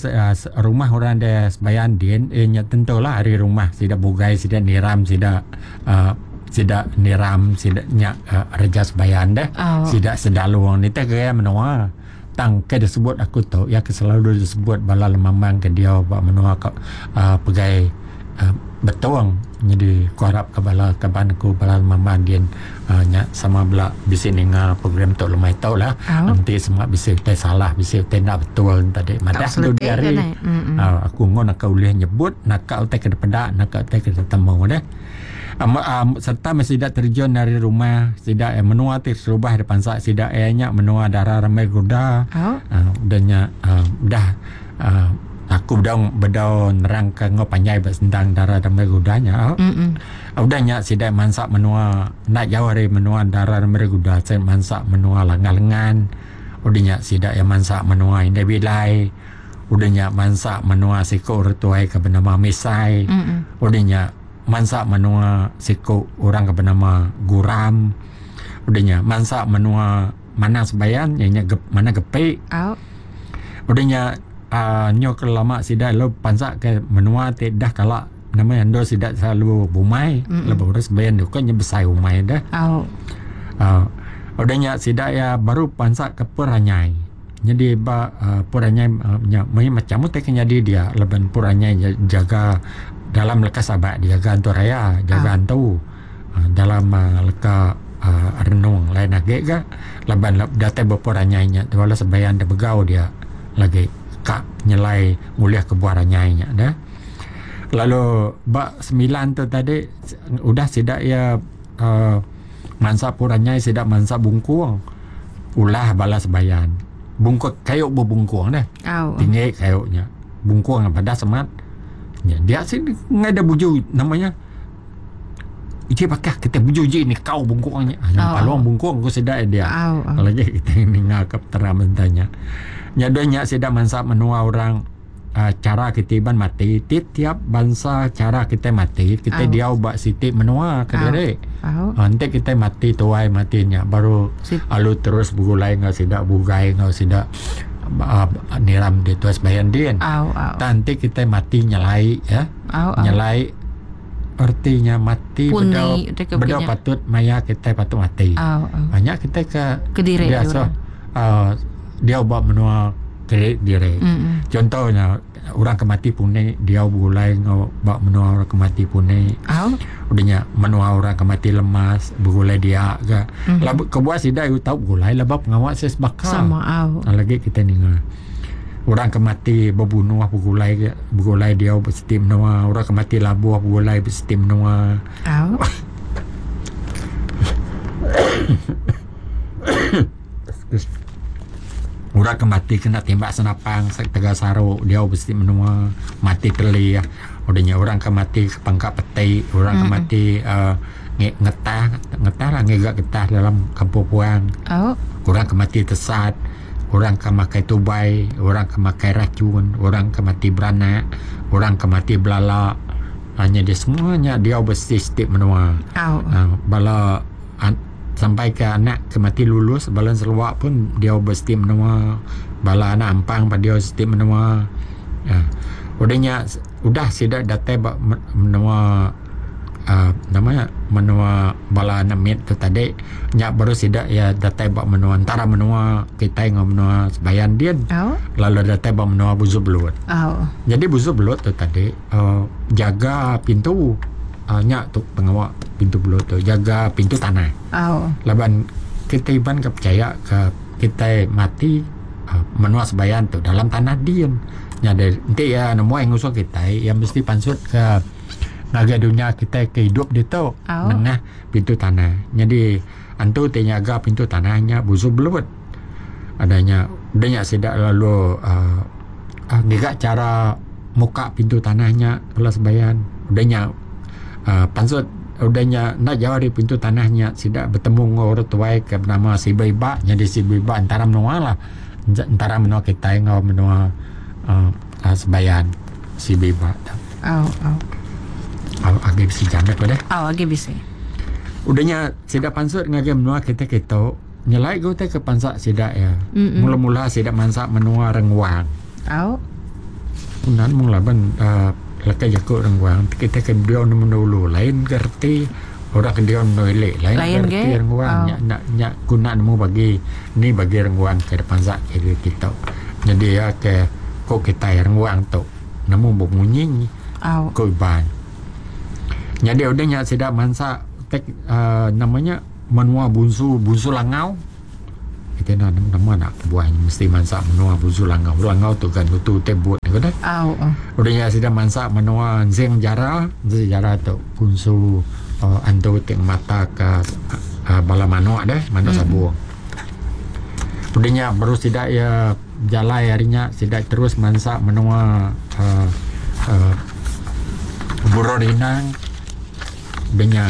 rumah orang da sebayan din iya nya tentu lah ari rumah sida bugai sida niram sida uhh. Sida niram sida nya uh, Raja Sebayan deh. Oh. Sida Sedalung ni teh gaya menua. Tang ke disebut aku tu ya ke selalu disebut bala lemambang ke diau ba menua ka uh, pegai uh, Betong. Jadi ku harap ke bala kaban aku bala lemambang din uh, nya sama bela bisi ninga program tu lemai tu lah. Oh. Enti semua bisi utai salah, bisi utai enda betul tadi madah Tau dudi seletik hari. kan eh. Mm-mm. Aku ngun aku ulih nyebut naka utai ke dipeda, naka utai ke ditemu deh. Sereta meh sida terjun ari rumah sida iya menua ti terubah dipansa sida iya nya menua dara rambai guda. Udah nya udah aku bedau bedau nerangka enggau panjai ba sentang dara rambai guda nya. Udah nya sida mansa menua enda jauh ari menua dara rambai guda sida mansa menua Langah Lengan. Udah nya sida iya mansa menua Indai Bilai. Udah nya mansa menua siku orang tuai ke benama Misai. Udah nya mansa menua siku orang ke benama Guram. Udah nya mansa menua Manang Sebayan iya nya Manang Gepi. Udah nya uhh nyu ke lama sida lalu pansa ke menua ti dah kala nama endur sida selalu bumai lebuh orang Sebayan tu kan nya besai umai deh. Uhh udah nya sida iya baru pansa ke Peranyai. Nyadi ba uhh Puranyai nya meh macam utai ke nyadi dia laban Puranyai nya jaga dalam leka sabak dijaga antu raya jaga antu uhh dalam uhh leka uhh renung lain agi ga laban datai ba Puranyai nya bala sebayan da begau dia lagi ka nyelai ngulih ke buah ranyai nya deh. Lalu ba semilan tu tadi udah sida iya uhh mansa Puranyai sida mansa Bungkung. Ulah bala sebayan. Bungkut kayu bebungkung deh. Au. Tinggi kayu nya. Bungkung padas amat. Nya dia sik ngai da buju nama nya. Uji bakah kita buju ji nikau bungkung nya. Nya Au. palung bungkung ku sida dia. Au. Au. Lagi kita ninga ke peteram enta nya. Nya deh nya sida mansa menua orang chara kitai iban mati ti tiap bansa chara kitai mati kitai diau ba siti menua kediri enti kitai mati tuai mati nya baru lalu terus begulai enggau sida bugai enggau sida uhh niram di tuai sembahyang din. Tang enti kitai mati nyelai ya nyelai erti nya mati bedau bedau patut maya kitai patut mati. Nya kitai ke diasuh uhh diau ba menua Diri diri. Mm-mm. Contoh nya orang ke mati puni diau begulai enggau ba menua orang ke mati puni. Au. Udah nya menua orang ke mati lemas begulai dia ga. Mm. Laban kebuah sida iu tau begulai laban pengawa sida sebaka. Sama au. Lagi kita ninga. Orang ke mati bebunuh begulai ga begulai diau ba siti menua, orang ke mati labuh begulai ba siti menua. Au. Orang ke mati kena timbak senapang tegal saru diau bisi menua mati telih udah nya orang ke mati ke pangka peti orang ke mati uhh ngetah ngetah lah ngiga getah dalam kampung puang orang ke mati tesat orang ke makai tubai orang ke makai racun orang ke mati beranak orang ke mati belala nyadi semua nya diau bisi siti menua uhh bala Sampai ke anak ke mati lulus bala Sarawak pun diau ba siti menua bala anak ampang pa diau siti menua uhh udah nya udah sida datai ba menua uhh nama nya menua bala anak mit tu tadi nya baru sida iya datai ba menua entara menua kitai enggau menua Sebayan din lalu datai ba menua Busu Belut. Nyadi Busu Belut tu tadi uhh jaga pintu. Nya tu pengawa pintu belut tu jaga pintu tanah. Laban kitai iban ke pechaya ke kitai mati menua sebayan tu dalam tanah din. Nya deh enti iya nemuai ngusung kitai iya mesti pansut ke ngagai dunya kitai ke idup ditu nengah pintu tanah. Nyadi antu ti nyaga pintu tanah nya busu belut. Udah nya udah nya sida lalu uhh ngiga chara muka pintu tanah nya bala sebayan. Udah nya uhh pansut udah nya enda jauh ari pintu tanah nya sida betemu enggau orang tuai ke benama Sibu Iba. Nyadi Sibu Iba entara menua lah entara menua kitai enggau menua uhh sebayan Sibu Iba tu. Agi bisi jam deh. Agi bisi. Udah nya sida pansut ngagai menua kitai kitu. Nyelai ga utai ke pansa sida iya. Mula-mula sida mansa menua Renguang. Au. Punan mung laban uhh leka jaku Renguang ti kitai ke diau nemu dulu lain ga reti. Orang ke diau endur ili lain Lain ga ge. reti rengguang Au. nya enda nya ku enda nemu bagi ni bagi rengguang ke dipansa ke kitu. Nyadi iya ke ku kitai rengguang tu nemu bemunyi Au. ku Iban. Nyadi udah nya sida mansa tek uhh nama nya menua Bunsu Bunsu Langau. Kitai enda nemu nama enda kebuah nya mesti mansa menua Bunsu Langau. Langau tu ga nutu utai but ne ku deh. Au. Udah nya sida mansa menua Ensing Jara, Ensing Jara tu bunsu uhh antu ti ngemata ka uhh bala manok deh, manok sabung. Udah nya baru sida iya bejalai ari nya sida terus mansa menua uhh uhh Burung Rinang. Udah nya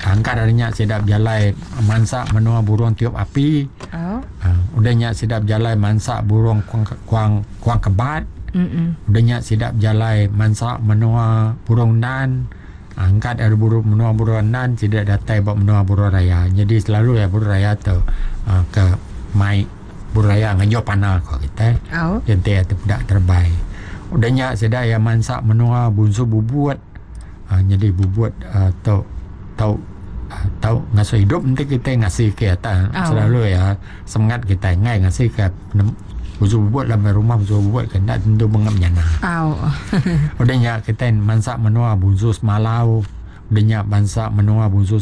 angkat ari nya sida bejalai mansa menua burung tiup api. Au. Uh, udah nya sida bejalai mansa burung kuang kuang kuang kebat. Mm-mm. Udah nya sida bejalai mansa menua burung nan. Angkat ari burung menua burung nan sida datai ba menua burung raya. Jadi selalu ya burung raya tu uh, ke mai burung raya ngejo pana ko kitai. Au. Enti iya tepeda terebai. Udah nya sida iya mansa menua bunsu bubut. uhh nyadi bubut uhh tu tau tau ngasuh idup enti kitai ngasi ke tang selalu iya semengat kitai enggai ngasi ke usu bubut laban rumah usu bubut ke enda tentu mengap nyana. Udah nya kitai mansa menua bunsu semalau udah nya bansa menua bunsu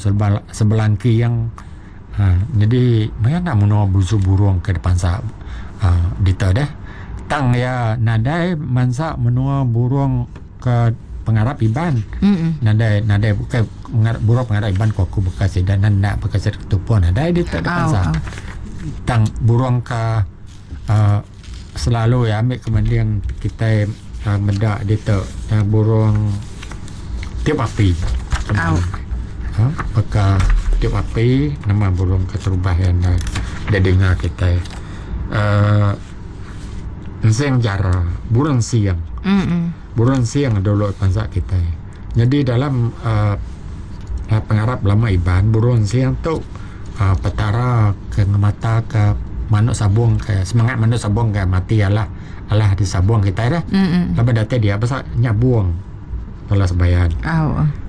sebelangking uhh nyadi meh enda menua bunsu burung ke dipansa uhh ditu deh. Tang iya nadai mansa menua burung. Ke pengarap Iban. Nadai nadai bukai pengarap burung pengarap Iban ku aku baka sida nan enda baka sida ketupung nadai ditu da bansa. Tang burung ka uhh selalu iya ambi ke mending kitai uhh meda ditu burung tiup api. Uhh baka tiup api nama burung keterubah iya enda didinga kitai uhh. Ensing jara, burung sing. Burung sing dulu bansa kitai. Nyadi dalam uhh pengarap lama Iban burung sing tu uhh petara ke ngemata ke manuk sabung ke semangat manuk sabung ke mati alah alah disabung kitai deh. Laban datai dia pasal nyabung bala sebayan.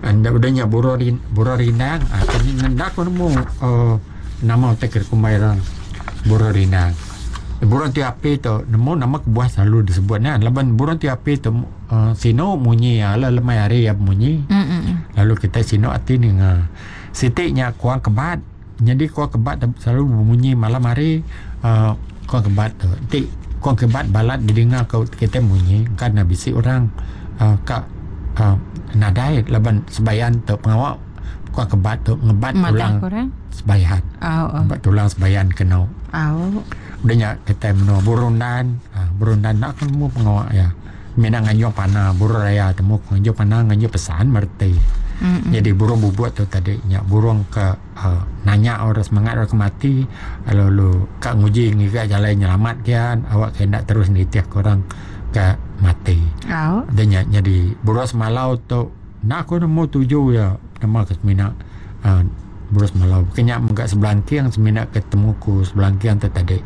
Enda udah nya burung burung rindang uhh enda ku nemu uhh nama utai ke dikumbai orang burung rindang. Burung ti api tu nemu nama kebuah selalu disebut nya laban burung ti api tu uhh sinu munyi iya lalu lemai hari iya bemunyi lalu kitai sinu ati ninga. Siti nya kuang kebat nyadi kuang kebat tu selalu bemunyi malam hari uhh kuang kebat tu enti kuang kebat balat didinga ku kitai munyi kan ne bisi orang uhh ka uhh nadai laban sebayan tu pengawa Kuak kebat tu ngebat tulang sebayan. Ngebat tulang sebayan kenu. Udah nya kitai menua Burundan. Burundan enda ku nemu pengawa iya. Mina nganjung pana burung raya temu ku nganjung pana nganjung pesan mereti. Jadi burung bubut tu tadi nya burung ke uhh nanya orang semangat orang ke mati lalu ka nguji ngiga jalai nyelamat kian awak ke enda terus nitih ke orang ke mati. Udah nya nyadi burung semalau tu. Enda aku nemu tuju iya nama ke semina uhh berus malau. Ke nya mega sebelangking semina ke temu ku sebelangking tu tadi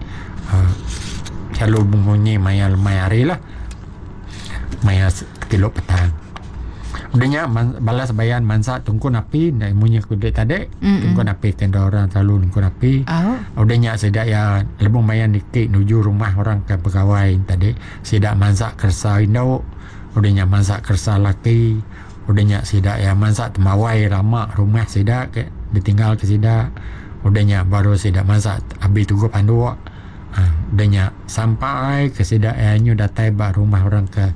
uhh selalu bemunyi maya lemai hari lah. Maya kilo petang. Udah nya bala sebayan mansa tungkun api enda munyi ku dik tadi. Tungkun api ti enda orang selalu nungkun api. Udah nya sida iya lebuh maya niki nuju rumah orang ke begawai tadi sida mansa keresa indu. Udah nya mansa keresa laki, udah nya sida iya mansa tembawai lama rumah sida ke ditinggal ke sida. Udah nya baru sida mansa abi tuguh panduk uhh udah nya sampai ke sida iya nyu datai ba rumah orang ke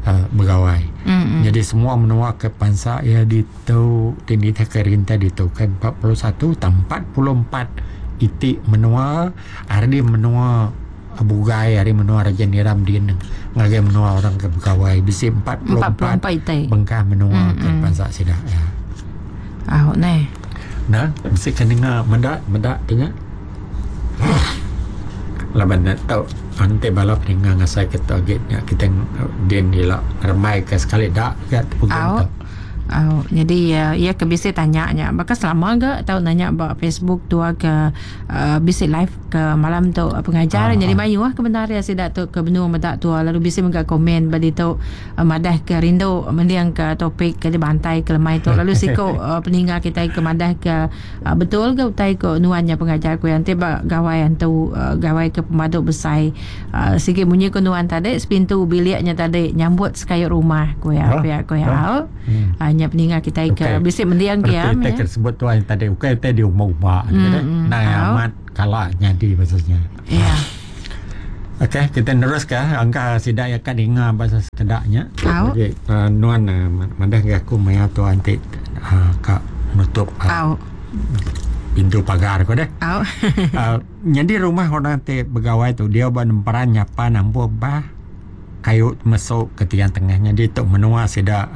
uhh begawai. Nyadi semua menua ke pansa iya ditu ti nitih ke rintai ditu ke 41 tang 44 iti menua ari menua Bugai ari menua Raja Niram din ngagai menua orang ke begawai bisi 44 bengkah menua ke bansa sida iya. Au neh. Nah, bisi ke ninga meda meda ti nya. Laban ne tau enti bala peninga ngasai ke tu agi nya kitai din ila ngerembai ke sekali da ga tepugin tu. Au, nyadi iya ke bisi tanya nya baka selama ga tau nanya ba Facebook tua ke bisi live ke malam tu pengajar. Nyadi mayuh ke bendar iya sida tu ke benung meda tua lalu bisi mega komen ba ditu madah ke rindu mending ke topik ke dibantai ke lemai tu lalu siku peninga kitai ke madah ke Betul ga utai ko nuan nya pengajar ku iya enti ba gawai antu gawai ke pemadu besai sigi munyi ko nuan tadi sepintu bilik nya tadi nyambut sekayu rumah ku iya pia ku iya au nya peninga kitai ke bisi mending ke iya meh. Utai ke sebut tuan tadi ukai utai diumba-umba nai amat kala nyadi pasal nya. Iya. Okey kita neruska angka sida iya ka ninga pasal sekeda nya. Jadi nuan madah ngagai aku maya tuan ti ka nutup pintu pagar ko deh. Nyadi rumah orang ti begawai tu dia ba nemperan nyapan ampuh bah kayu mesu ke tiang tengah nyadi tu menua sida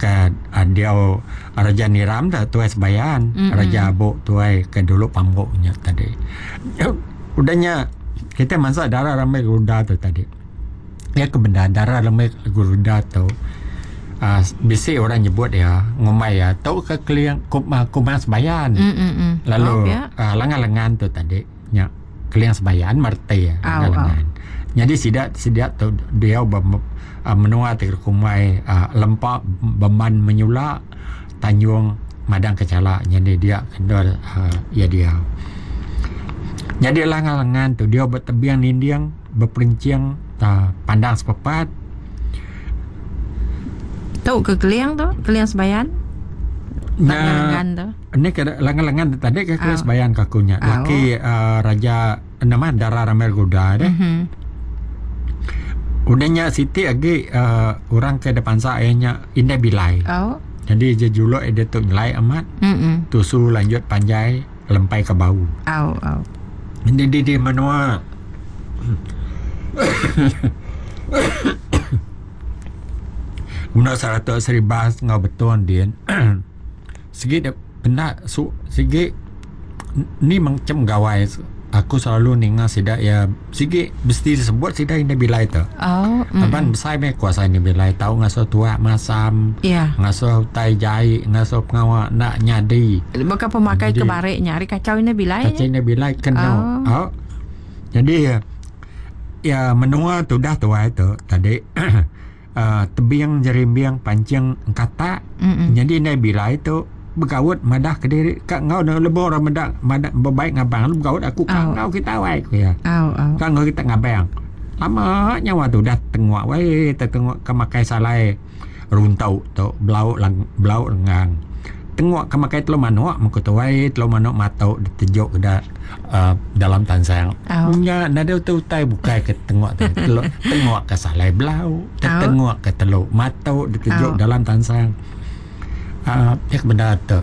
ke diau Raja Niram tu tuai sebayan Raja Abok tuai ke dulu pambuk nya tadi. Udah nya kitai mansa dara rambai geruda tu tadi. Iya ke bendar dara rambai geruda tu uhh bisi orang nyebut iya ngumbai iya tu ke keling kumang sebayan lalu uhh lengan lengan tu tadi nya keling sebayan mereti iya lengan lengan. Nyadi sida sida tu diau ba menua ti kumbai uhh lempa beman menyula Tanjung Madang Kechala nyadi dia endur uhh iya diau. Nyadi lengan-lengan tu dia betebing ninding beperenching uhh pandang sepepat. Tu ke keling tu, keling sebayan. Lengan-lengan tu. Ni ke lengan-lengan tu tadi ke keling sebayan ke aku nya. Laki uhh raja nama dara Ramai Guda deh. Udah nya siti agi uhh orang ke da pansa iya nya Indai Bilai. Nyadi je juluk iya diatu nyelai amat. Tusu lanjut panjai lempai ke bau. Nyadi di menua menua Saratok Seribas enggau Betong din sigi dep enda su sigi ni macam gawai aku selalu ninga sida iya sigi mesti disebut sida indai bilai tu. Laban besai meh kuasa indai bilai tau ngasuh tuak masam ngasuh utai jai ngasuh pengawa enda nyadi. Baka pemakai ke barik nya ari kachau indai bilai. Kachau indai bilai keno. Au. Jadi iya menua tudah tuai tu tadi uhh tebing jerimbing pancing engkatak nyadi indai bilai tu begaut madah kediri ka enggau ne lebuh orang meda madah bebaik ngabang lalu begaut aku ka enggau kita wai ku iya. Ka enggau kita ngabang. Lama nyawa tu udah tengok wai tetengok ke makai salai runtok tu belau belau lengang. Tengok ke makai telu manok meh ku tuai telu manok matok ditejuk da uhh dalam tansang. Nya nadai utai utai bukai ke tengok tu telu tengok ke salai belau tetengok ke telu matok ditejuk dalam tansang. Uhh nya ke bendar tu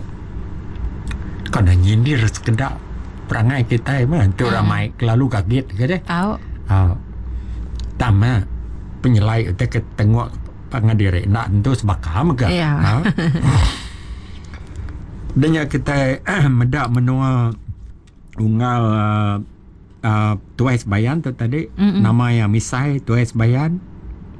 kan ne nyindir sekeda perangai kitai meh enti orang mai kelalu gagit ke deh. Uhh tang meh penyelai utai ke tengok Pangan diri enda tentu sebaka mega. Iya. Udah nya kitai meda menua unggal uhh Tuai Sebayan tu tadi nama iya Misai Tuai Sebayan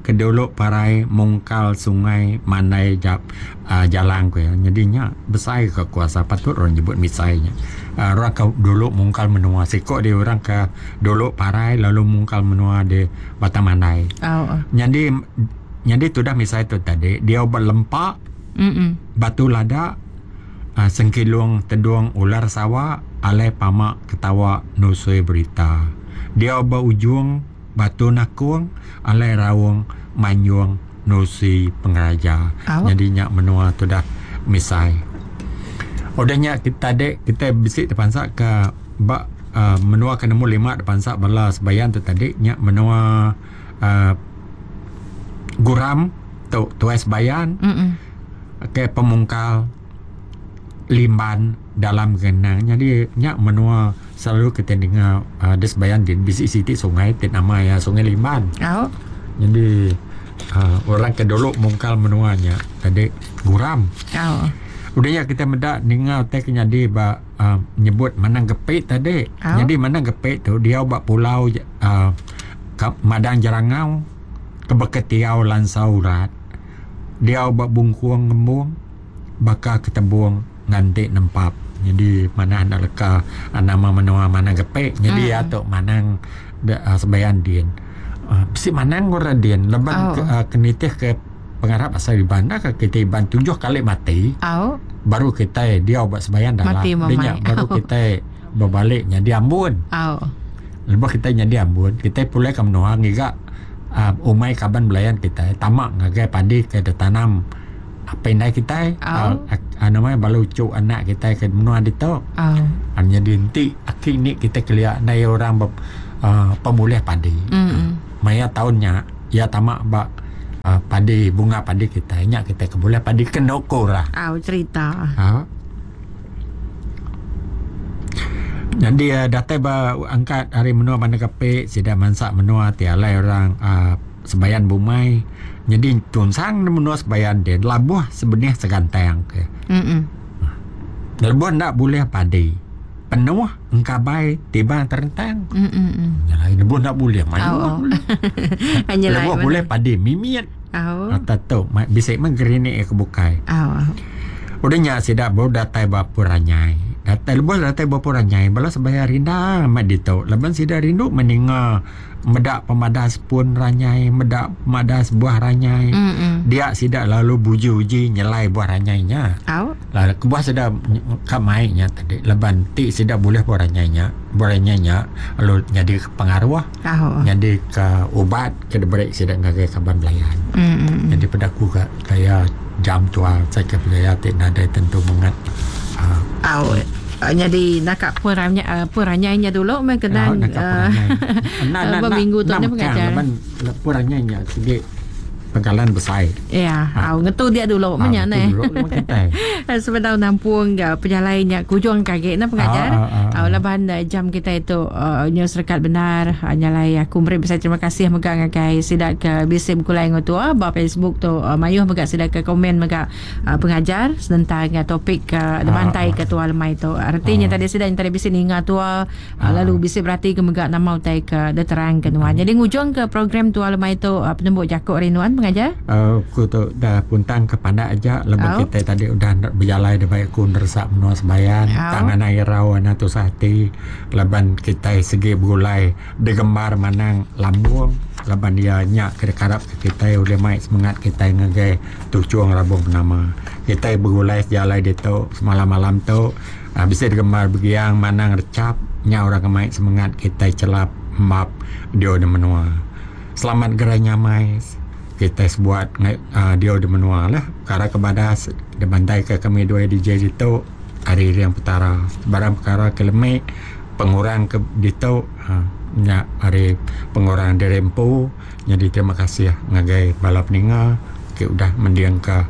ke dulu parai mungkal sungai Mandai uhh Jalang ku iya. Nyadi nya besai ka kuasa patut orang nyebut Misai nya. Uhh orang ke dulu mungkal menua siko dih orang ke dulu parai lalu mungkal menua di Batang Mandai. Nyadi nyadi tudah misai tu tadi diau ba lempa batu lada uhh sengkilung tedung ular sawa alai pama ketawa nusui berita. Diau ba ujung batu nakung alai raung manjung nusui pengeraja. Nyadi nya menua tudah misai. Udah nya kita tadi kita bisi tepansa ka ba uhh menua ke nemu lima da pansa bala sebayan tu tadi nya menua uhh Guram tu tuai sebayan ke pemungkal Limban dalam Genang nyadi nya menua selalu kita ninga uhh da sebayan din bisi siti sungai ti nama iya Sungai Limban. Nyadi uhh orang ke dulu mungkal menua nya tadi Guram. Udah nya kita meda ninga utai ke nyadi ba uhh nyebut Manang Gepik tadi. Nyadi Manang Gepik tu diau ba pulau uhh Madang Jerangau ke beketiau Lansau Urat. Diau ba Bungkung Ngembung. baka ketebung nganti nempap. Nyadi manah enda leka nama menua manang gepe nyadi iya tu manang sebayan din. Bisi manang orang din laban ke nitih ke pengarap asal Iban enda ka kitai Iban tujuh kali mati baru kitai diau ba sebayan dalam nya baru kitai bebali nyadi ambun. Lebuh kitai nyadi ambun kitai pulai ke menua ngiga umai kaban belayan kitai tama ngagai padi ke ditanam apai indai kitai nama bala uchu anak kitai ke menua ditu. Nyadi enti aki indi kitai kelia ndai orang pemulih padi maya taun nya iya tama ba padi bunga padi kitai nya kitai ke bulih padi ke endo ku orang. Nyadi datai ba angkat ari menua Bandar Kapit sida mansa menua ti alai orang uhh sebayan bumai nyadi tunsang ne menua sebayan ti labuh sebenih segantang ke. Lebuh enda bulih padi penuh engkabai tiba terentang. Nyelai lebuh enda bulih mayuh bulih. Lebuh bulih padi mimit. Ata tu bisi meh gerinik ke bukai. Udah nya sida baru datai ba Pun Ranyai. Datai lebuh datai ba Pun Ranyai bala sebaya rindang amat ditu laban sida rindu meninga meda pemadas pun ranyai meda pemadas buah ranyai. Dia sida lalu buji-uji nyelai buah ranyai nya. Lalu kebuah sida ka mai nya tadi laban ti sida bulih buah ranyai nya, buah ranyai nya lalu nyadi pengaruh. Nyadi ka ubat ke diberi sida ngagai kaban belayan. Nyadi peda aku ka gaya jam tua sai ke pegaya ti nadai tentu mengat uhh. Nyadi naka pun ranyai nya dulu meh kenang uhh ba minggu tu nya pengajar. Laban pun ranyai nya sigi pengkalan besai. Iya, au ngetu dia dulu meh nya neh. Sebedau nampung ga pejalai nya kujung ke agi ne pengajar. Au laban jam kitai tu nyau serekat bendar nyalai aku meri besai terima kasih mega ngagai sida ke bisi begulai enggau tua ba Facebook tu mayuh mega sida ke komen mega pengajar senentang topik ke dibantai ke tua lemai tu. Reti nya tadi sida nya tadi bisi ninga tua Lalu bisi berati ke mega nama utai ke diterang ke nuan. Jadi ngujung ke program tua lemai tu penembu jaku ari nuan pengajar. Aku tu dah puntang ke pandak aja lebuh kitai tadi udah bejalai da bai aku neresak menua sebayan tang anang irau anang tusah ati laban kitai sigi begulai digembar manang lambung laban iya nya ke dikarap ke kitai ulih mai semengat kitai ngagai tuchung rabung penama. Kitai begulai sejalai ditu semalam-malam tu. Bisi digembar begiang manang rechap nya orang ke mai semengat kitai chelap embap diau di menua. Selamat gerai nyamai kitai sebuat diau di menua lah. Pekara ke badas dibantaika kami duai DJ ditu ari Riang Petara. Sebarang pekara ke lemi pengurang ke ditu nya ari pengurang diri empu. Nyadi terima kasih ngagai bala peninga ke udah mendingka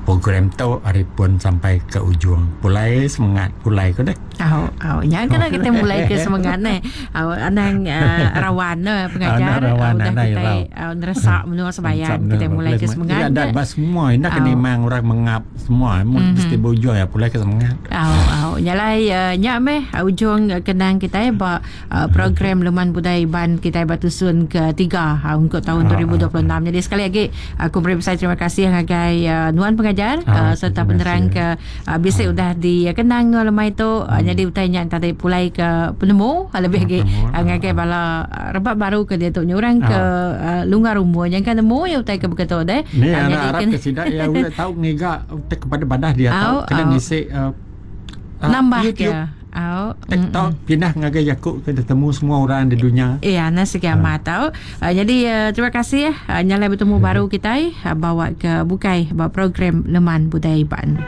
program tu ari pun sampai ke ujung. Pulai semengat pulai ku deh. Au au nya kena kita mulai ke semengat neh. Au anang uh, rawan ne pengajar Anang rawan, udah anang kita irau. uh, neresak menua sebayan kita mulai ke semengat. Tidak ada bah semua indah kena imang orang mengap semua mm -hmm. mesti berujung ya pulai ke semengat. Au au nyalai uh, nya meh ujung kenang kita ba program Leman Budaya Iban kitai ba tusun ke tiga ungkup taun 2026. Jadi sekali agi aku meri besai terima kasih ngagai nuan pengajar sereta penerang ke bisi udah dikenang nuan lemai tu. Nyadi utai nya tadi pulai ke penemu lebih agi ngagai bala rebak baru ke diatu nya orang ke lunggar umur nyangka nemu iya utai ke beketu deh. Ni arap ke sida iya ulih tau ngiga utai kepada badah dia tau kena ngisi nambah ke Au. TikTok pindah ngagai jaku ke ditemu semua orang di dunya. Iya, nah sigi amat tau. Jadi terima kasih nyalai betemu baru kitai bawa ke bukai ba program Leman Budaya Iban.